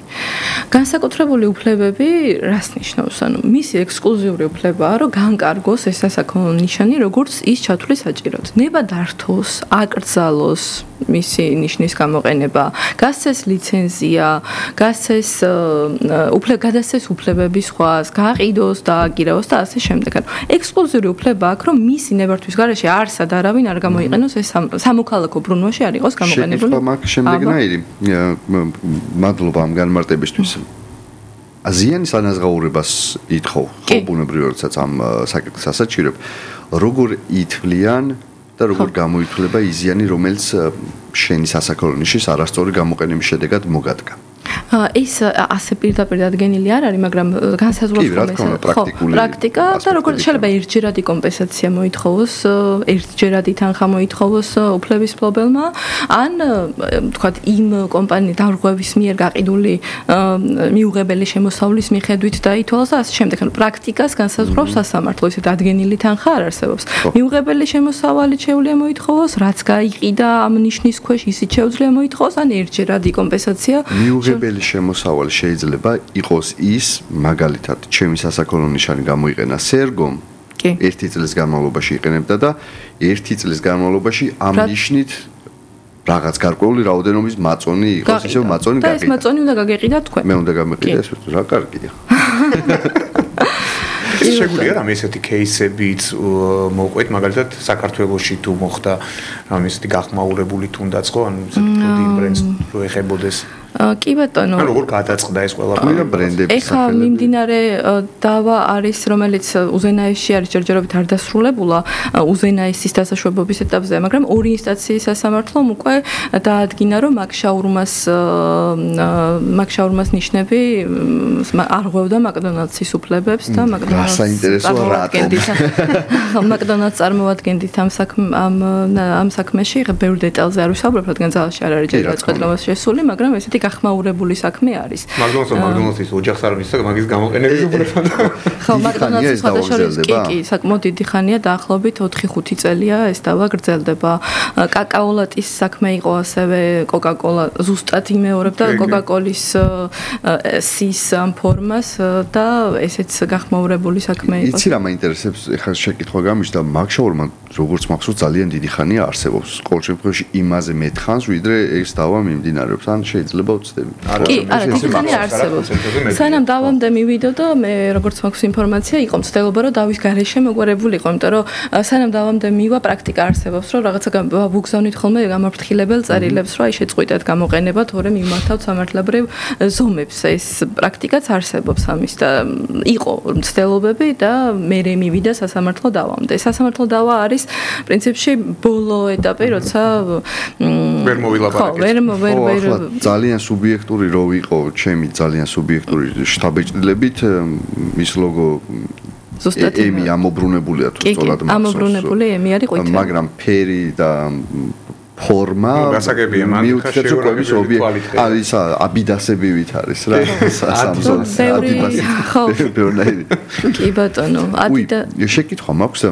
განსაკუთრებული უფლებები რას ნიშნავს? ანუ მისი ექსკლუზიური უფლებაა, რომ განკარგოს ეს სასაქონლო ნიშანი, როგორც ის ჩათვლის საჭიროდ. ნება დართოს, აკრძალოს მისი ნიშნის გამოყენება, გასცეს ლიცენზია, გასცეს უფლება, გადასცეს უფლებები სხვას, გააყიდოს, დააგირაოს და ასე შემდეგ. ანუ ექსკლუზიური უფლება აქვს, რომ მისი ნებართვის გარეშე არსად არავინ არ გამოიყენოს ეს სამოქალაქო ბრუნვაში არ იყოს გამოყენებული. შეკითხვა მაქვს შემდეგნაირი. მადლობა ამ განმარტებისთვის. აზიანის ანაზღაურებას ითხოვ, ხო ბუნებრივია, როდესაც ამ საკითხს ასაჩირებ, როგორ ითვლიან და როგორ გამოითვლება იზიანი, რომელიც შენი სასაქონლო ნიშნის არასწორი გამოყენების შედეგად მოგადგა. ეს ასე პირდაპირ დადგენილი არ არის, მაგრამ განსაზღვრავს პრაქტიკა და როგორც შეიძლება ერთჯერადი კომპენსაცია მოითხოვოს, ერთჯერადი თანხა მოითხოვოს უფლების მფლობელმა, ან თქვათ იმ კომპანიის დარღვევის მიერ გაყიდული მიუღებელი შემოსავლის მიხედვით დაითვალოს და ასე შემდეგ. ანუ პრაქტიკას განსაზღვრავს სასამართლო, ისე დადგენილი თანხა არ არსებობს. მიუღებელი შემოსავალი შეუძლია მოითხოვოს, რაც გაიყიდა ამ ნიშნის ქვეშ, ისიც შეუძლია მოითხოვოს, ან ერთჯერადი კომპენსაცია. მიუღებელი შემოსავალი შეიძლება იყოს ის, მაგალითად, ჩემი სასაქონლო ნიშანი გამოიყენა სერგომ, ერთი წლის განმავლობაში იყენებდა და ერთი წლის განმავლობაში ამ ნიშნით რაღაც გარკვეული რაოდენობის მაწონი იყოს, ისევ მაწონი გაგიყიდა. და ეს მაწონი უნდა გაგეყიდა თქვენ. მე უნდა გამეყიდა ეს, რა კარგია. შეგვიძლია რამე ესეთი кейსებიც მოყვეთ, მაგალითად საქართველოში თუ მოხდა რამე ესეთი გახმაურებული თუნდაც ხო, ანუ ესეთი პროდუქტ ბრენდს რო ეხებოდეს. კი ბატონო. ანუ როგორ გადაწყდა ეს ყველაფერი ბრენდების ეხა მიმდინარე დავა არის, რომელიც უზენაესში არის, ჯერჯერობით არ დასრულებულა უზენაესის დასაშვებობის ეტაპზე, მაგრამ ორი ინსტანციის სასამართლომ უკვე დაადგინა, რომ მაგშაურმას მაგშაურმას ნიშნები არღვევდა მაკდონალდსის უფლებებს და მაკდონალდს საინტერესოა რატომ მაკდონალდს წარმოადგენდით ამ ამ ამ საქმეში, ხა ბევრ დეტალზე არ ვისაუბრებ, რადგან ძალაში არ არის ჯერ გადაწყვეტილებას შესული, მაგრამ ესეთი გახმაურებული საქმე არის. მაგდონალდს მაგდონალდსის ოჯახს არ მისცა მაგის გამოყენების უფლება. ხო, მაგდონალდსის სხვადასხვა კი კი, საკმაოდ დიდი ხანია, დაახლოებით ოთხი ხუთი წელია ეს დავა გრძელდება. კაკაოლატის საქმე იყო ასევე, კოკაკოლა ზუსტად იმეორებდა კოკაკოლის სის ამ ფორმას და ესეც გახმაურებული საქმე იყო. იცი რა მაინტერესებს, ეხლა შეკითხვა გამიშდა, მაგშაურმა როგორც მახსოვს ძალიან დიდი ხანია არსებობს. ყოველ შემთხვევაში იმაზე მეტხანს, ვიდრე ეს დავა მიმდინარეობს, ან შეიძლება უცდები. კი, არა, დიდი ხანია არსებობს. სანამ დავამდე მივიდო და მე როგორც მაქვს ინფორმაცია, იყო მცდელობა, რომ დავის გარეშე მოგვარებულიყო, იმიტომ რომ სანამ დავამდე მივა, პრაქტიკა არსებობს, რომ რაღაცა ვუგზავნით ხოლმე გამაფრთხილებელ წერილებს, რომ აი შეწყვიტეთ გამოყენება, თორემ მიმართავთ სამართლებრივ ზომებს. ეს პრაქტიკაც არსებობს ამის და იყო მცდელობები და მე მივიდა სასამართლო დავამდე. სასამართლო დავა არის პრინციპში ბოლო ეტაპი, როცა ვერ მოვილაპარაკეთ. ვერ ვერ ვერ ძალიან სუბიექტური რო იყო, ჩემი ძალიან სუბიექტური შტაბეჭდილებით მის ლოგო ზუსტად ემი ამობრუნებულია თუ სწორად მახსოვს. ამობრუნებული ემი არის ყვითელი. მაგრამ ფერი და ფორმა მიუხედავად უყურების ობიექტი არის აბიდასებივით არის რა სამზონს აბიდასი ბევრნაირი კი ბატონო აბიდა შეკითხვა მაქვს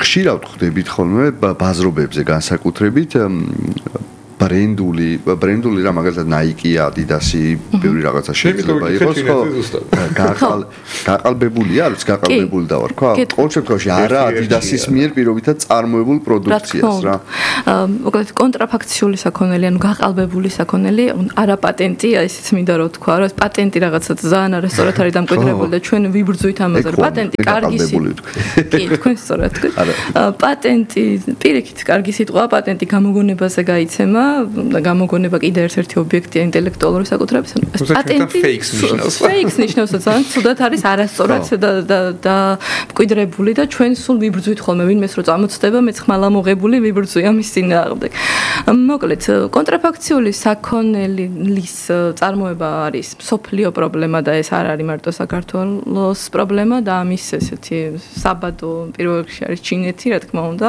ხშირად ხვდებით ხოლმე ბაზრობებზე განსაკუთრებით ბრენდული, ბრენდული რა მაგალითად Nike, Adidas, ბევრი რაღაცა შეიძლება იყოს, ხო? გაყალ გაყალბებულია, არის გაყალბებული და ვარ, ხო? ყოველ შემთხვევაში არა Adidas-ის მიერ პირობითად წარმოებულ პროდუქციას რა. მოკლედ კონტრაფაქციული საქონელი, ანუ გაყალბებული საქონელი, არა პატენტი, ისიც მინდა რომ თქვა, რომ პატენტი რაღაცა ძალიან არა სწორად არის დამკვიდრებული და ჩვენ ვიბრძვით ამაზე, რომ პატენტი კარგი კი, თქვენ სწორად თქვით. პატენტი პირიქით კარგი სიტყვა, პატენტი გამოგონებაზე გაიცემა და გამოგონება კიდე ერთ-ერთი ობიექტია ინტელექტუალური საკუთრების, ანუ პატენტი fakes ნიშნავს. fakes ნიშნავს, ძალიან ცუდად არის არასწორად და და და მკვიდრებული და ჩვენ სულ ვიბრძვით ხოლმე ვინმეს რო წამოწდება, მეც ხმალა მოღებული ვიბრძვი ამის წინააღმდეგ. მოკლედ, კონტრაფაქციული საქონელის წარმოება არის სოფლიო პრობლემა და ეს არ არის მარტო საქართველოს პრობლემა და ამის ესეთი საბადო პირველ რიგში არის ჩინეთი, რა თქმა უნდა.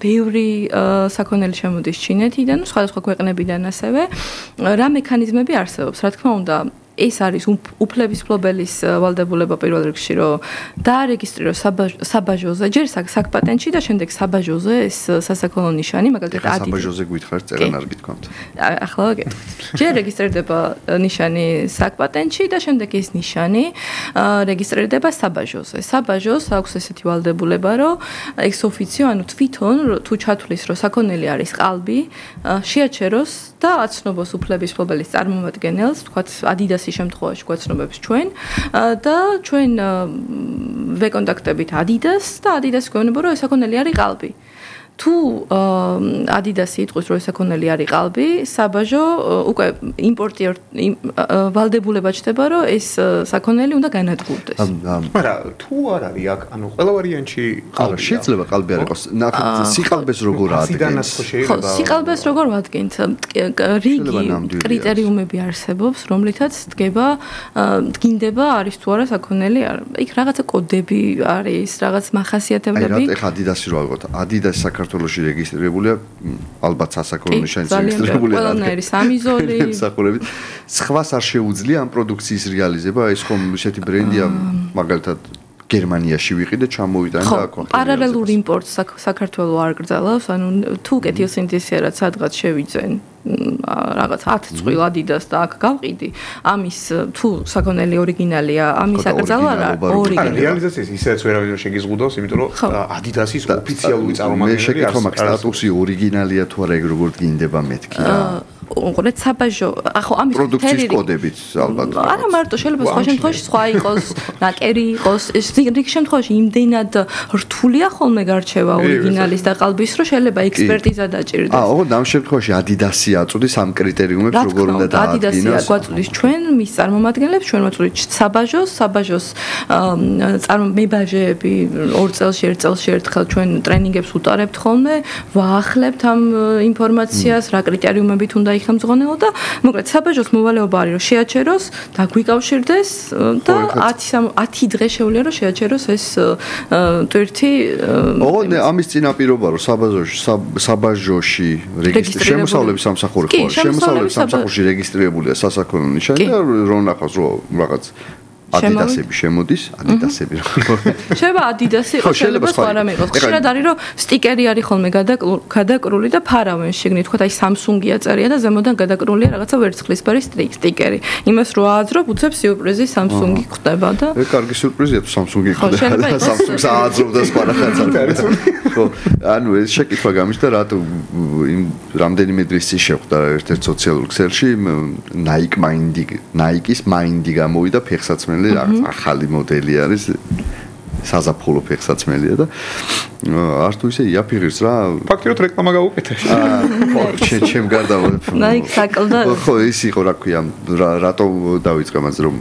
ბევრი საქონელი შემოდის ჩინეთიდან, სხვადასხვა ქვეყნებიდან ასევე. რა მექანიზმები არსებობს, რა თქმა უნდა, ეს არის უფლების ფლობელის ვალდებულება პირველ რიგში, რომ დაარეგისტრიროს საბაჟოზე, ჯერ საკპატენტში და შემდეგ საბაჟოზე ეს სასაქონლო ნიშანი, მაგალითად Adidas. საბაჟოზე გითხარით წერან არ გითქვამთ. ახლა ვაგეთ. ჯერ რეგისტრირდება ნიშანი საკპატენტში და შემდეგ ეს ნიშანი რეგისტრირდება საბაჟოზე. საბაჟოს აქვს ესეთი ვალდებულება, რომ ex officio, ანუ თვითონ თუ ჩათვლის, რომ საქონელი არის ყალბი, შეაჩეროს და აცნობს უფლების ფლობელის წარმომადგენელს, თქვათ Adidas შემთხვევაში გვაცნობებს ჩვენ და ჩვენ ვეკონტაქტებით Adidas და Adidas გვეუბნება რომ ეს საქონელი არის ყალბი. თუ Adidas იტყვის რომ ეს საქონელი არის ყალბი, საბაჟო უკვე იმპორტიორ ვალდებულება ჩდება რომ ეს საქონელი უნდა განადგურდეს. მაგრამ თუ არ არის აქ, ანუ ყველა ვარიანტში ყალბი შეიძლება ყალბი არ იყოს. სიყალბეს როგორ ადგენს? ხო, სიყალბეს როგორ ვადგენთ? რიგი კრიტერიუმები არსებობს, რომლითაც დგება დგინდება არის თუ არა საქონელი არა. იქ რაღაცა კოდები არის, რაღაც მახასიათებლები. აი რა ეხა Adidas-ი რო ავიღოთ. Adidas საქართველოში რეგისტრირებულია, ალბათ სასაქონლო ნიშანის რეგისტრირებულია. ყველანაირი სამიზოლი. მსახურებით. სხვას არ შეუძლია ამ პროდუქციის რეალიზება, ეს ხომ ისეთი ბრენდია, მაგალითად გერმანიაში ვიყიდე, ჩამოვიტანე და აქ ვახერხე. პარალელურ იმპორტს საქართველო არ გრძელავს, ანუ თუ კეთილსინთეზიერად სადღაც შევიძენ რაღაც ათი წყვილ Adidas და აქ გავყიდი, ამის თუ საქონელი ორიგინალია, ამის აკრძალვა არა ორიგინალი. რეალიზაციის ისაც ვერავინ შეგიზღუდავს, იმიტომ რომ Adidas-ის ოფიციალური წარმომადგენელი არის. მე სტატუსი ორიგინალია თუ არა, ეგ როგორ დგინდება მეთქი რა. უყურეთ საბაჟო, ახო ამის პროდუქციის კოდებით ალბათ. არა მარტო, შეიძლება სხვა შემთხვევაში სხვა იყოს, ნაკერი იყოს, ეს რიგ შემთხვევაში იმდენად რთულია ხოლმე გარჩევა ორიგინალის და ყალბის, რომ შეიძლება ექსპერტიზა დაჭირდეს. აა, ოღონდ ამ შემთხვევაში Adidas-ი აწუდის ამ კრიტერიუმებს, როგორ უნდა დაადგინოს. Adidas-ი გვაწუდის ჩვენ, მის წარმომადგენლებს, ჩვენ ვაწუდით საბაჟოს, საბაჟოს წარმომებაჟეები ორ წელში, ერთ წელში ერთხელ ჩვენ ტრენინგებს უტარებთ ხოლმე, ვაახლებთ ამ ინფორმაციას, რა კრიტერიუმებით უნდა ხამძღონეო და მოკლედ საბაჟოს მოვალეობა არის რომ შეაჩეროს და გვიკავშირდეს და ათი დღე შეუძლია რომ შეაჩეროს ეს ტვირთი. ოღონდ ამის წინაპირობა რომ საბაჟოში საბაჟოში რეგისტრირებული შემოსავლების სამსახური ხო შემოსავლების სამსახურში რეგისტრირებულია სასაქონლო ნიშანი და რომ ნახავს რომ რაღაც Adidas-ები შემოდის, Adidas-ები რა. შეიძლება Adidas-ი იყოს, შეიძლება სხვა რამე იყოს. ხშირად არის რომ სტიკერი არის ხოლმე გადაკრული და ფარავენ შეგნით, თქვა აი Samsung-ია წერია და ზემოდან გადაკრულია რაღაცა ვერცხლისფერი სტიკერი. იმას რო ააძრობ, უცებ სიურპრიზი Samsung-ი ხდება და ეგ კარგი სიურპრიზია თუ Samsung-ი ხდება. Samsung-ს ააძრობდა სხვა რაღაცა. ხო, ანუ ეს შეკითხვა გამიშთა რატო იმ რამდენიმე დღის წინ შეხვდა ერთ-ერთ სოციალურ ქსელში Nike Mindy, Nike-ის Mindy გამოვიდა ფეხსაცმელი რაღაც ახალი მოდელი არის საზაფხულო ფეხსაცმელია და არ თუ ისე იაფიღებს რა ფაქტიურად რეკლამა გაუკეთე ხო ჩემ გარდა Nike საკლდა ხო ის იყო რა ქვია რატო დავიწყე მას რომ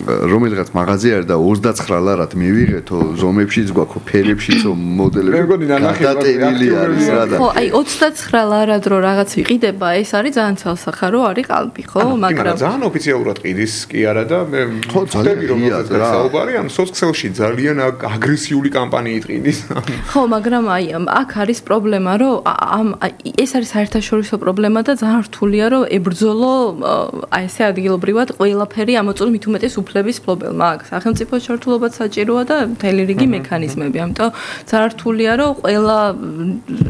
რომელიღაც მაღაზია არის და ოცდაცხრა ლარად მივიღეთო ზომებშიც გვაქვს ფერებშიც მოდელები გადატენილი არის რა და ხო აი ოცდაცხრა ლარად რო რაღაც ვიყიდება ეს არის ძალიან ცალსახარო არის ყალბი ხო მაგრამ ძალიან ოფიციალურად ყიდის კი არა და მე ხო ძალიან რომ საუბარი ამ სოციალში ძალიან აგრესიული კამპანიით ყიდის ხო მაგრამ აი აქ არის პრობლემა რომ ამ ეს არის საერთაშორისო პრობლემა და ძალიან რთულია რომ ებრძოლო აი ესე ადგილობრივად ყველაფერი ამოწურვ მით უმეტეს განათლების ფლობელმა. აქ სახელმწიფო ჩართულობაც საჭიროა და მთელი რიგი მექანიზმები. ამიტომ ძართულია რომ ყველა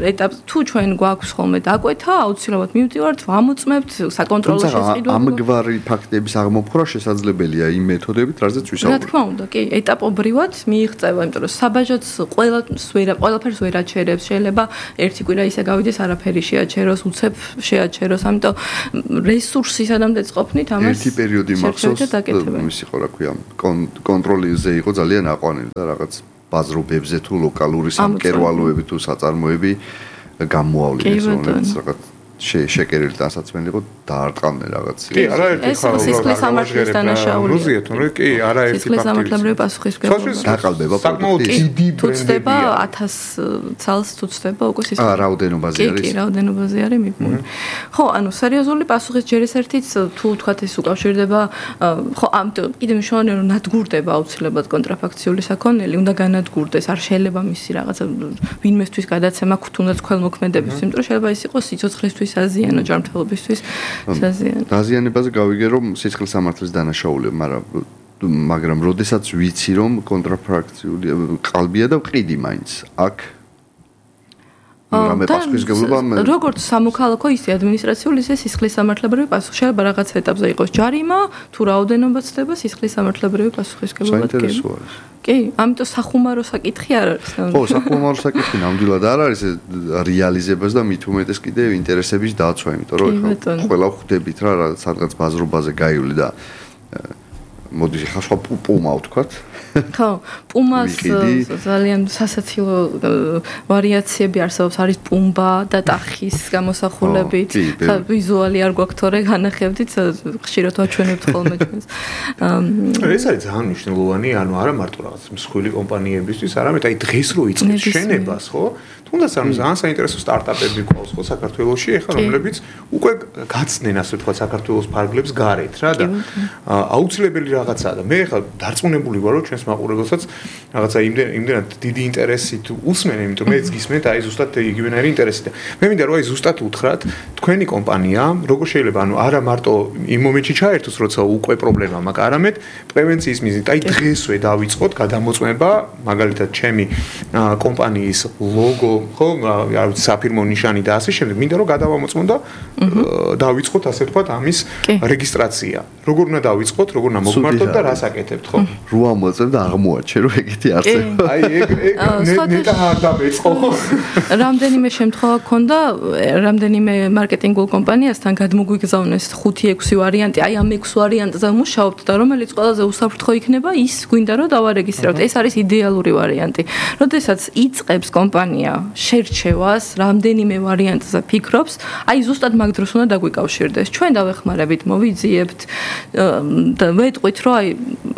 ეტაპს თუ ჩვენ გვაქვს ხოლმე დაკვეთა, აუცილებლად მივდივართ, ვამოწმებთ საკონტროლო შესყიდვებს. ამგვარი ფაქტების აღმოფხვრა შესაძლებელია იმ მეთოდებით, რაზეც ვისაუბრეთ. რა თქმა უნდა, კი, ეტაპობრივად მიიღწევა, იმიტომ რომ საბაჟოც ყველას ვერ ყველაფერს ვერ აჩერებს. შეიძლება ერთი კვირა ისე გავიდეს, არაფერი შეაჩეროს, უცებ შეაჩეროს, ამიტომ რესურსის ადამიანს ყოფნით ამას ერთი პერიოდი მახსოვს, ის იყო რა ქვია, კონტროლიზე იყო ძალიან აყვანილი და რაღაც ბაზრობებზე თუ ლოკალური სამკერვალოები თუ საწარმოები გამოავლინეს, რომელიც რაღაც შეკერილი დასაცმელი იყო დაარტყამდნენ რაღაც. კი, არაერთი ხარ სისხლის სამართლის დანაშაულია. როზია თორე კი, არაერთი სისხლის სამართლებრივი პასუხისმგებლობა. დაყალბება საკმაოდ დიდი თუცდება ათას ცალს თუცდება უკვე სისხლის. აა, რაოდენობაზე არის. კი, რაოდენობაზე არის მიფუნი. ხო, ანუ სერიოზული პასუხის ჯერ ეს ერთიც თუ თქვათ ეს უკავშირდება, ხო, ამ კიდე მნიშვნელოვანია რომ ნადგურდება აუცილებლად კონტრაფაქციული საქონელი, უნდა განადგურდეს, არ შეიძლება მისი რაღაცა ვინმესთვის გადაცემა თუნდაც ქველმოქმედებისთვის, იმიტომ რომ შეიძლება ის იყოს სიცოცხლისთვის აზიანო ჯანმრთელობისთვის საზიანო. დაზიანებაზე გავიგე რომ სისხლის სამართლის დანაშაულია, მაგრამ მაგრამ როდესაც ვიცი რომ კონტრაფაქციული ყალბია და ვყიდი მაინც. აქ რამე პასუხისმგებლობა როგორც სამოქალაქო ისე ადმინისტრაციული ისე სისხლის სამართლებრივი პასუხი შეიძლება რაღაც ეტაპზე იყოს ჯარიმა თუ რაოდენობა ცდება სისხლის სამართლებრივი პასუხისმგებლობა კი ამიტომ სახუმარო საკითხი არ არის ხო სახუმარო საკითხი ნამდვილად არ არის რეალიზებას და მით უმეტეს კიდე ინტერესების დაცვა იმიტომ რომ ყველა ხვდებით რა სადღაც ბაზრობაზე გაივლი და მოდი ხა სხვა პუმა ვთქვათ ხო პუმას ძალიან სასაცილო ვარიაციები არსებობს არის პუმბა და ტახის გამოსახულებით ხა ვიზუალი არ გვაქვს თორე განახებდით ხშირად ვაჩვენებთ ხოლმე ჩვენს ეს არის ძალიან მნიშვნელოვანი ანუ არა მარტო რაღაც მსხვილი კომპანიებისთვის არამედ აი დღეს რო იწყებს შენებას ხო თუნდაც ამ ძალიან საინტერესო სტარტაპები გვყავს ხო საქართველოში ეხლა რომლებიც უკვე გაცდნენ ასე ვთქვათ საქართველოს ფარგლებს გარეთ რა და აუცილებელი რაღაცაა და მე ეხლა დარწმუნებული ვარ რომ ჩვენს მაყურებელსაც რაღაცა იმდენად დიდი ინტერესით უსმენ იმიტომ მეც გისმენთ აი ზუსტად იგივენაირი ინტერესი და მე მინდა რომ აი ზუსტად უთხრათ თქვენი კომპანია როგორ შეიძლება ანუ არა მარტო იმ მომენტში ჩაერთოს როცა უკვე პრობლემა მაქვს არამედ პრევენციის მიზნით აი დღესვე დავიწყოთ გადამოწმება მაგალითად ჩემი კომპანიის ლოგო ხო არ ვიცი საფირმო ნიშანი და ასე შემდეგ მინდა რომ გადავამოწმოთ და დავიწყოთ ასე ვთქვათ ამის რეგისტრაცია როგორ უნდა დავიწყოთ როგორ უნდა მოგმართოთ და რას აკეთებთ ხო რო ამოწმებ და აღმოაჩენ რომ ეგეთი არსებობს აი ეგ ეგ ნეტა არ დამეწყო რამდენიმე შემთხვევა ქონდა რამდენიმე მარკეტინგულ კომპანიასთან გადმოგვიგზავნეს ხუთი ექვსი ვარიანტი აი ამ ექვს ვარიანტზე მუშაობთ და რომელიც ყველაზე უსაფრთხო იქნება ის გვინდა რომ დავარეგისტრიროთ ეს არის იდეალური ვარიანტი როდესაც იწყებს კომპანია შერჩევას რამდენიმე ვარიანტზე ფიქრობს აი ზუსტად მაგ დროს უნდა დაგვიკავშირდეს ჩვენ დავეხმარებით მოვიძიებთ და ვეტყვით რომ აი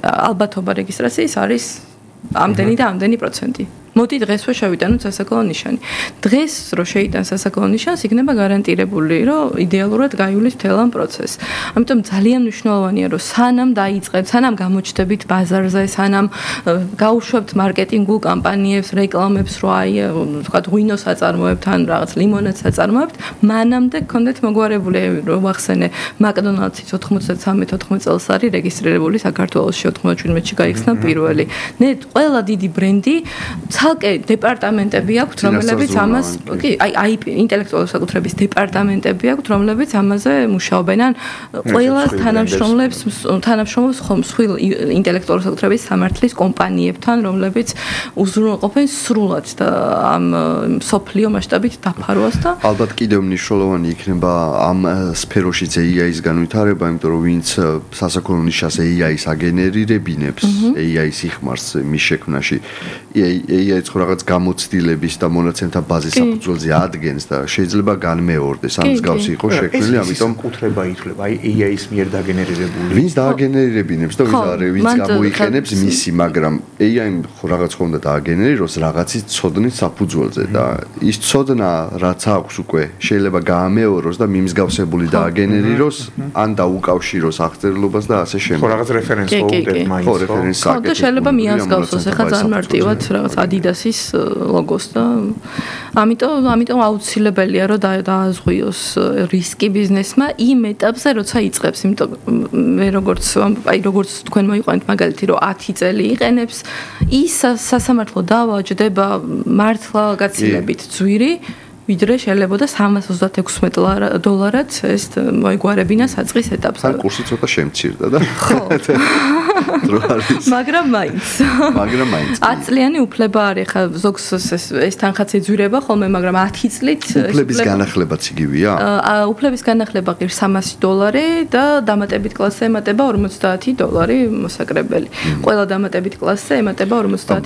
ალბათობა რეგისტრაციის არის ამდენი და ამდენი პროცენტი მოდი დღესვე შევიტანოთ სასაქონლო ნიშანი. დღეს რო შეიტან სასაქონლო ნიშანს, იქნება გარანტირებული, რომ იდეალურად გაივლის მთელ ამ პროცესს. ამიტომ ძალიან მნიშვნელოვანია, რომ სანამ დაიწყებთ, სანამ გამოჩნდებით ბაზარზე, სანამ გაუშვებთ მარკეტინგულ კამპანიებს, რეკლამებს, რო აი, ვთქვათ, ღვინოს აწარმოებთ ან რაღაც ლიმონადს აწარმოებთ, მანამდე გქონდეთ მოგვარებული, რომ ვახსენე, მაკდონალდსის ოთხმოცდათსამი ოთხმოცდაათი წელს არის რეგისტრირებული საქართველოში ოთხმოცდაჩვიდმეტში გაიხსნა პირველი. ნე ყველა დიდი ბრენდი ცალკე დეპარტამენტები აქვს, რომლებიც ამას, კი, აი აი ინტელექტუალური საკუთრების დეპარტამენტები აქვს, რომლებიც ამაზე მუშაობენ. ან ყველა თანამშრომლებს თანამშრომლობს მსხვილ ინტელექტუალური საკუთრების სამართლის კომპანიებთან, რომლებიც უზრუნველყოფენ სრულად და ამ სოფლიო მასშტაბით დაფარვას და ალბათ კიდევ მნიშვნელოვანი იქნება ამ სფეროშიც ეი აის განვითარება, იმიტომ რომ ვინც სასაქონლო ნიშას ეი აის აგენერირებინებს, ეი აის იხმარს მის შექმნაში, ეი აიც ხო რაღაც გამოცდილების და მონაცემთა ბაზის საფუძველზე ადგენს და შეიძლება განმეორდეს ამ მსგავსი იყო შექმნილი, ამიტომ კუთრება ითვლება, აი ეი აის მიერ დაგენერირებული. ვინც დააგენერირებინებს და ვინც გამოიყენებს მისი, მაგრამ ეი აიმ ხო რაღაც ხო უნდა დააგენერიროს რაღაცის ცოდნის საფუძველზე და ის ცოდნა რაც აქვს უკვე შეიძლება გაამეოროს და მიმსგავსებული დააგენერიროს, ან დაუკავშიროს აღწერილობას და ასე შემდეგ. ხო რაღაც რეფერენს მოუდგეთ მაინც. ხო რეფერენს აკეთებს. და შეიძლება მიასგავსოს, ეხლა ძალიან მარტივად რაღაც Adidas Adidas-ის ლოგოს და ამიტომ ამიტომ აუცილებელია რომ დააზღვიოს რისკი ბიზნესმა იმ ეტაპზე, როცა იწყებს, იმიტომ მე როგორც აი როგორც თქვენ მოიყვანეთ მაგალითი რომ ათი წელი იყენებს, ის სასამართლო დავა ჯდება მართლა გაცილებით ძვირი ვიდრე შეიძლება და სამას ოცდაექვსმეტ დოლარად ეს მოიგوارებინა საწყის ეტაპზე. ან კურსი ცოტა შემცირდა და ხო. მაგრამ მაინც. მაგრამ მაინც. ათი წლიანი უფლება არის ხა ზოგს ეს თანხაც ეძვირება ხოლმე, მაგრამ ათი წლით უფლების განახლებაც იგივეა? აა უფლების განახლება ღირს სამასი დოლარი და დამატებით კლასზე ემატება ორმოცდაათი დოლარი მოსაკრებელი. ყველა დამატებით კლასზე ემატება ორმოცდაათი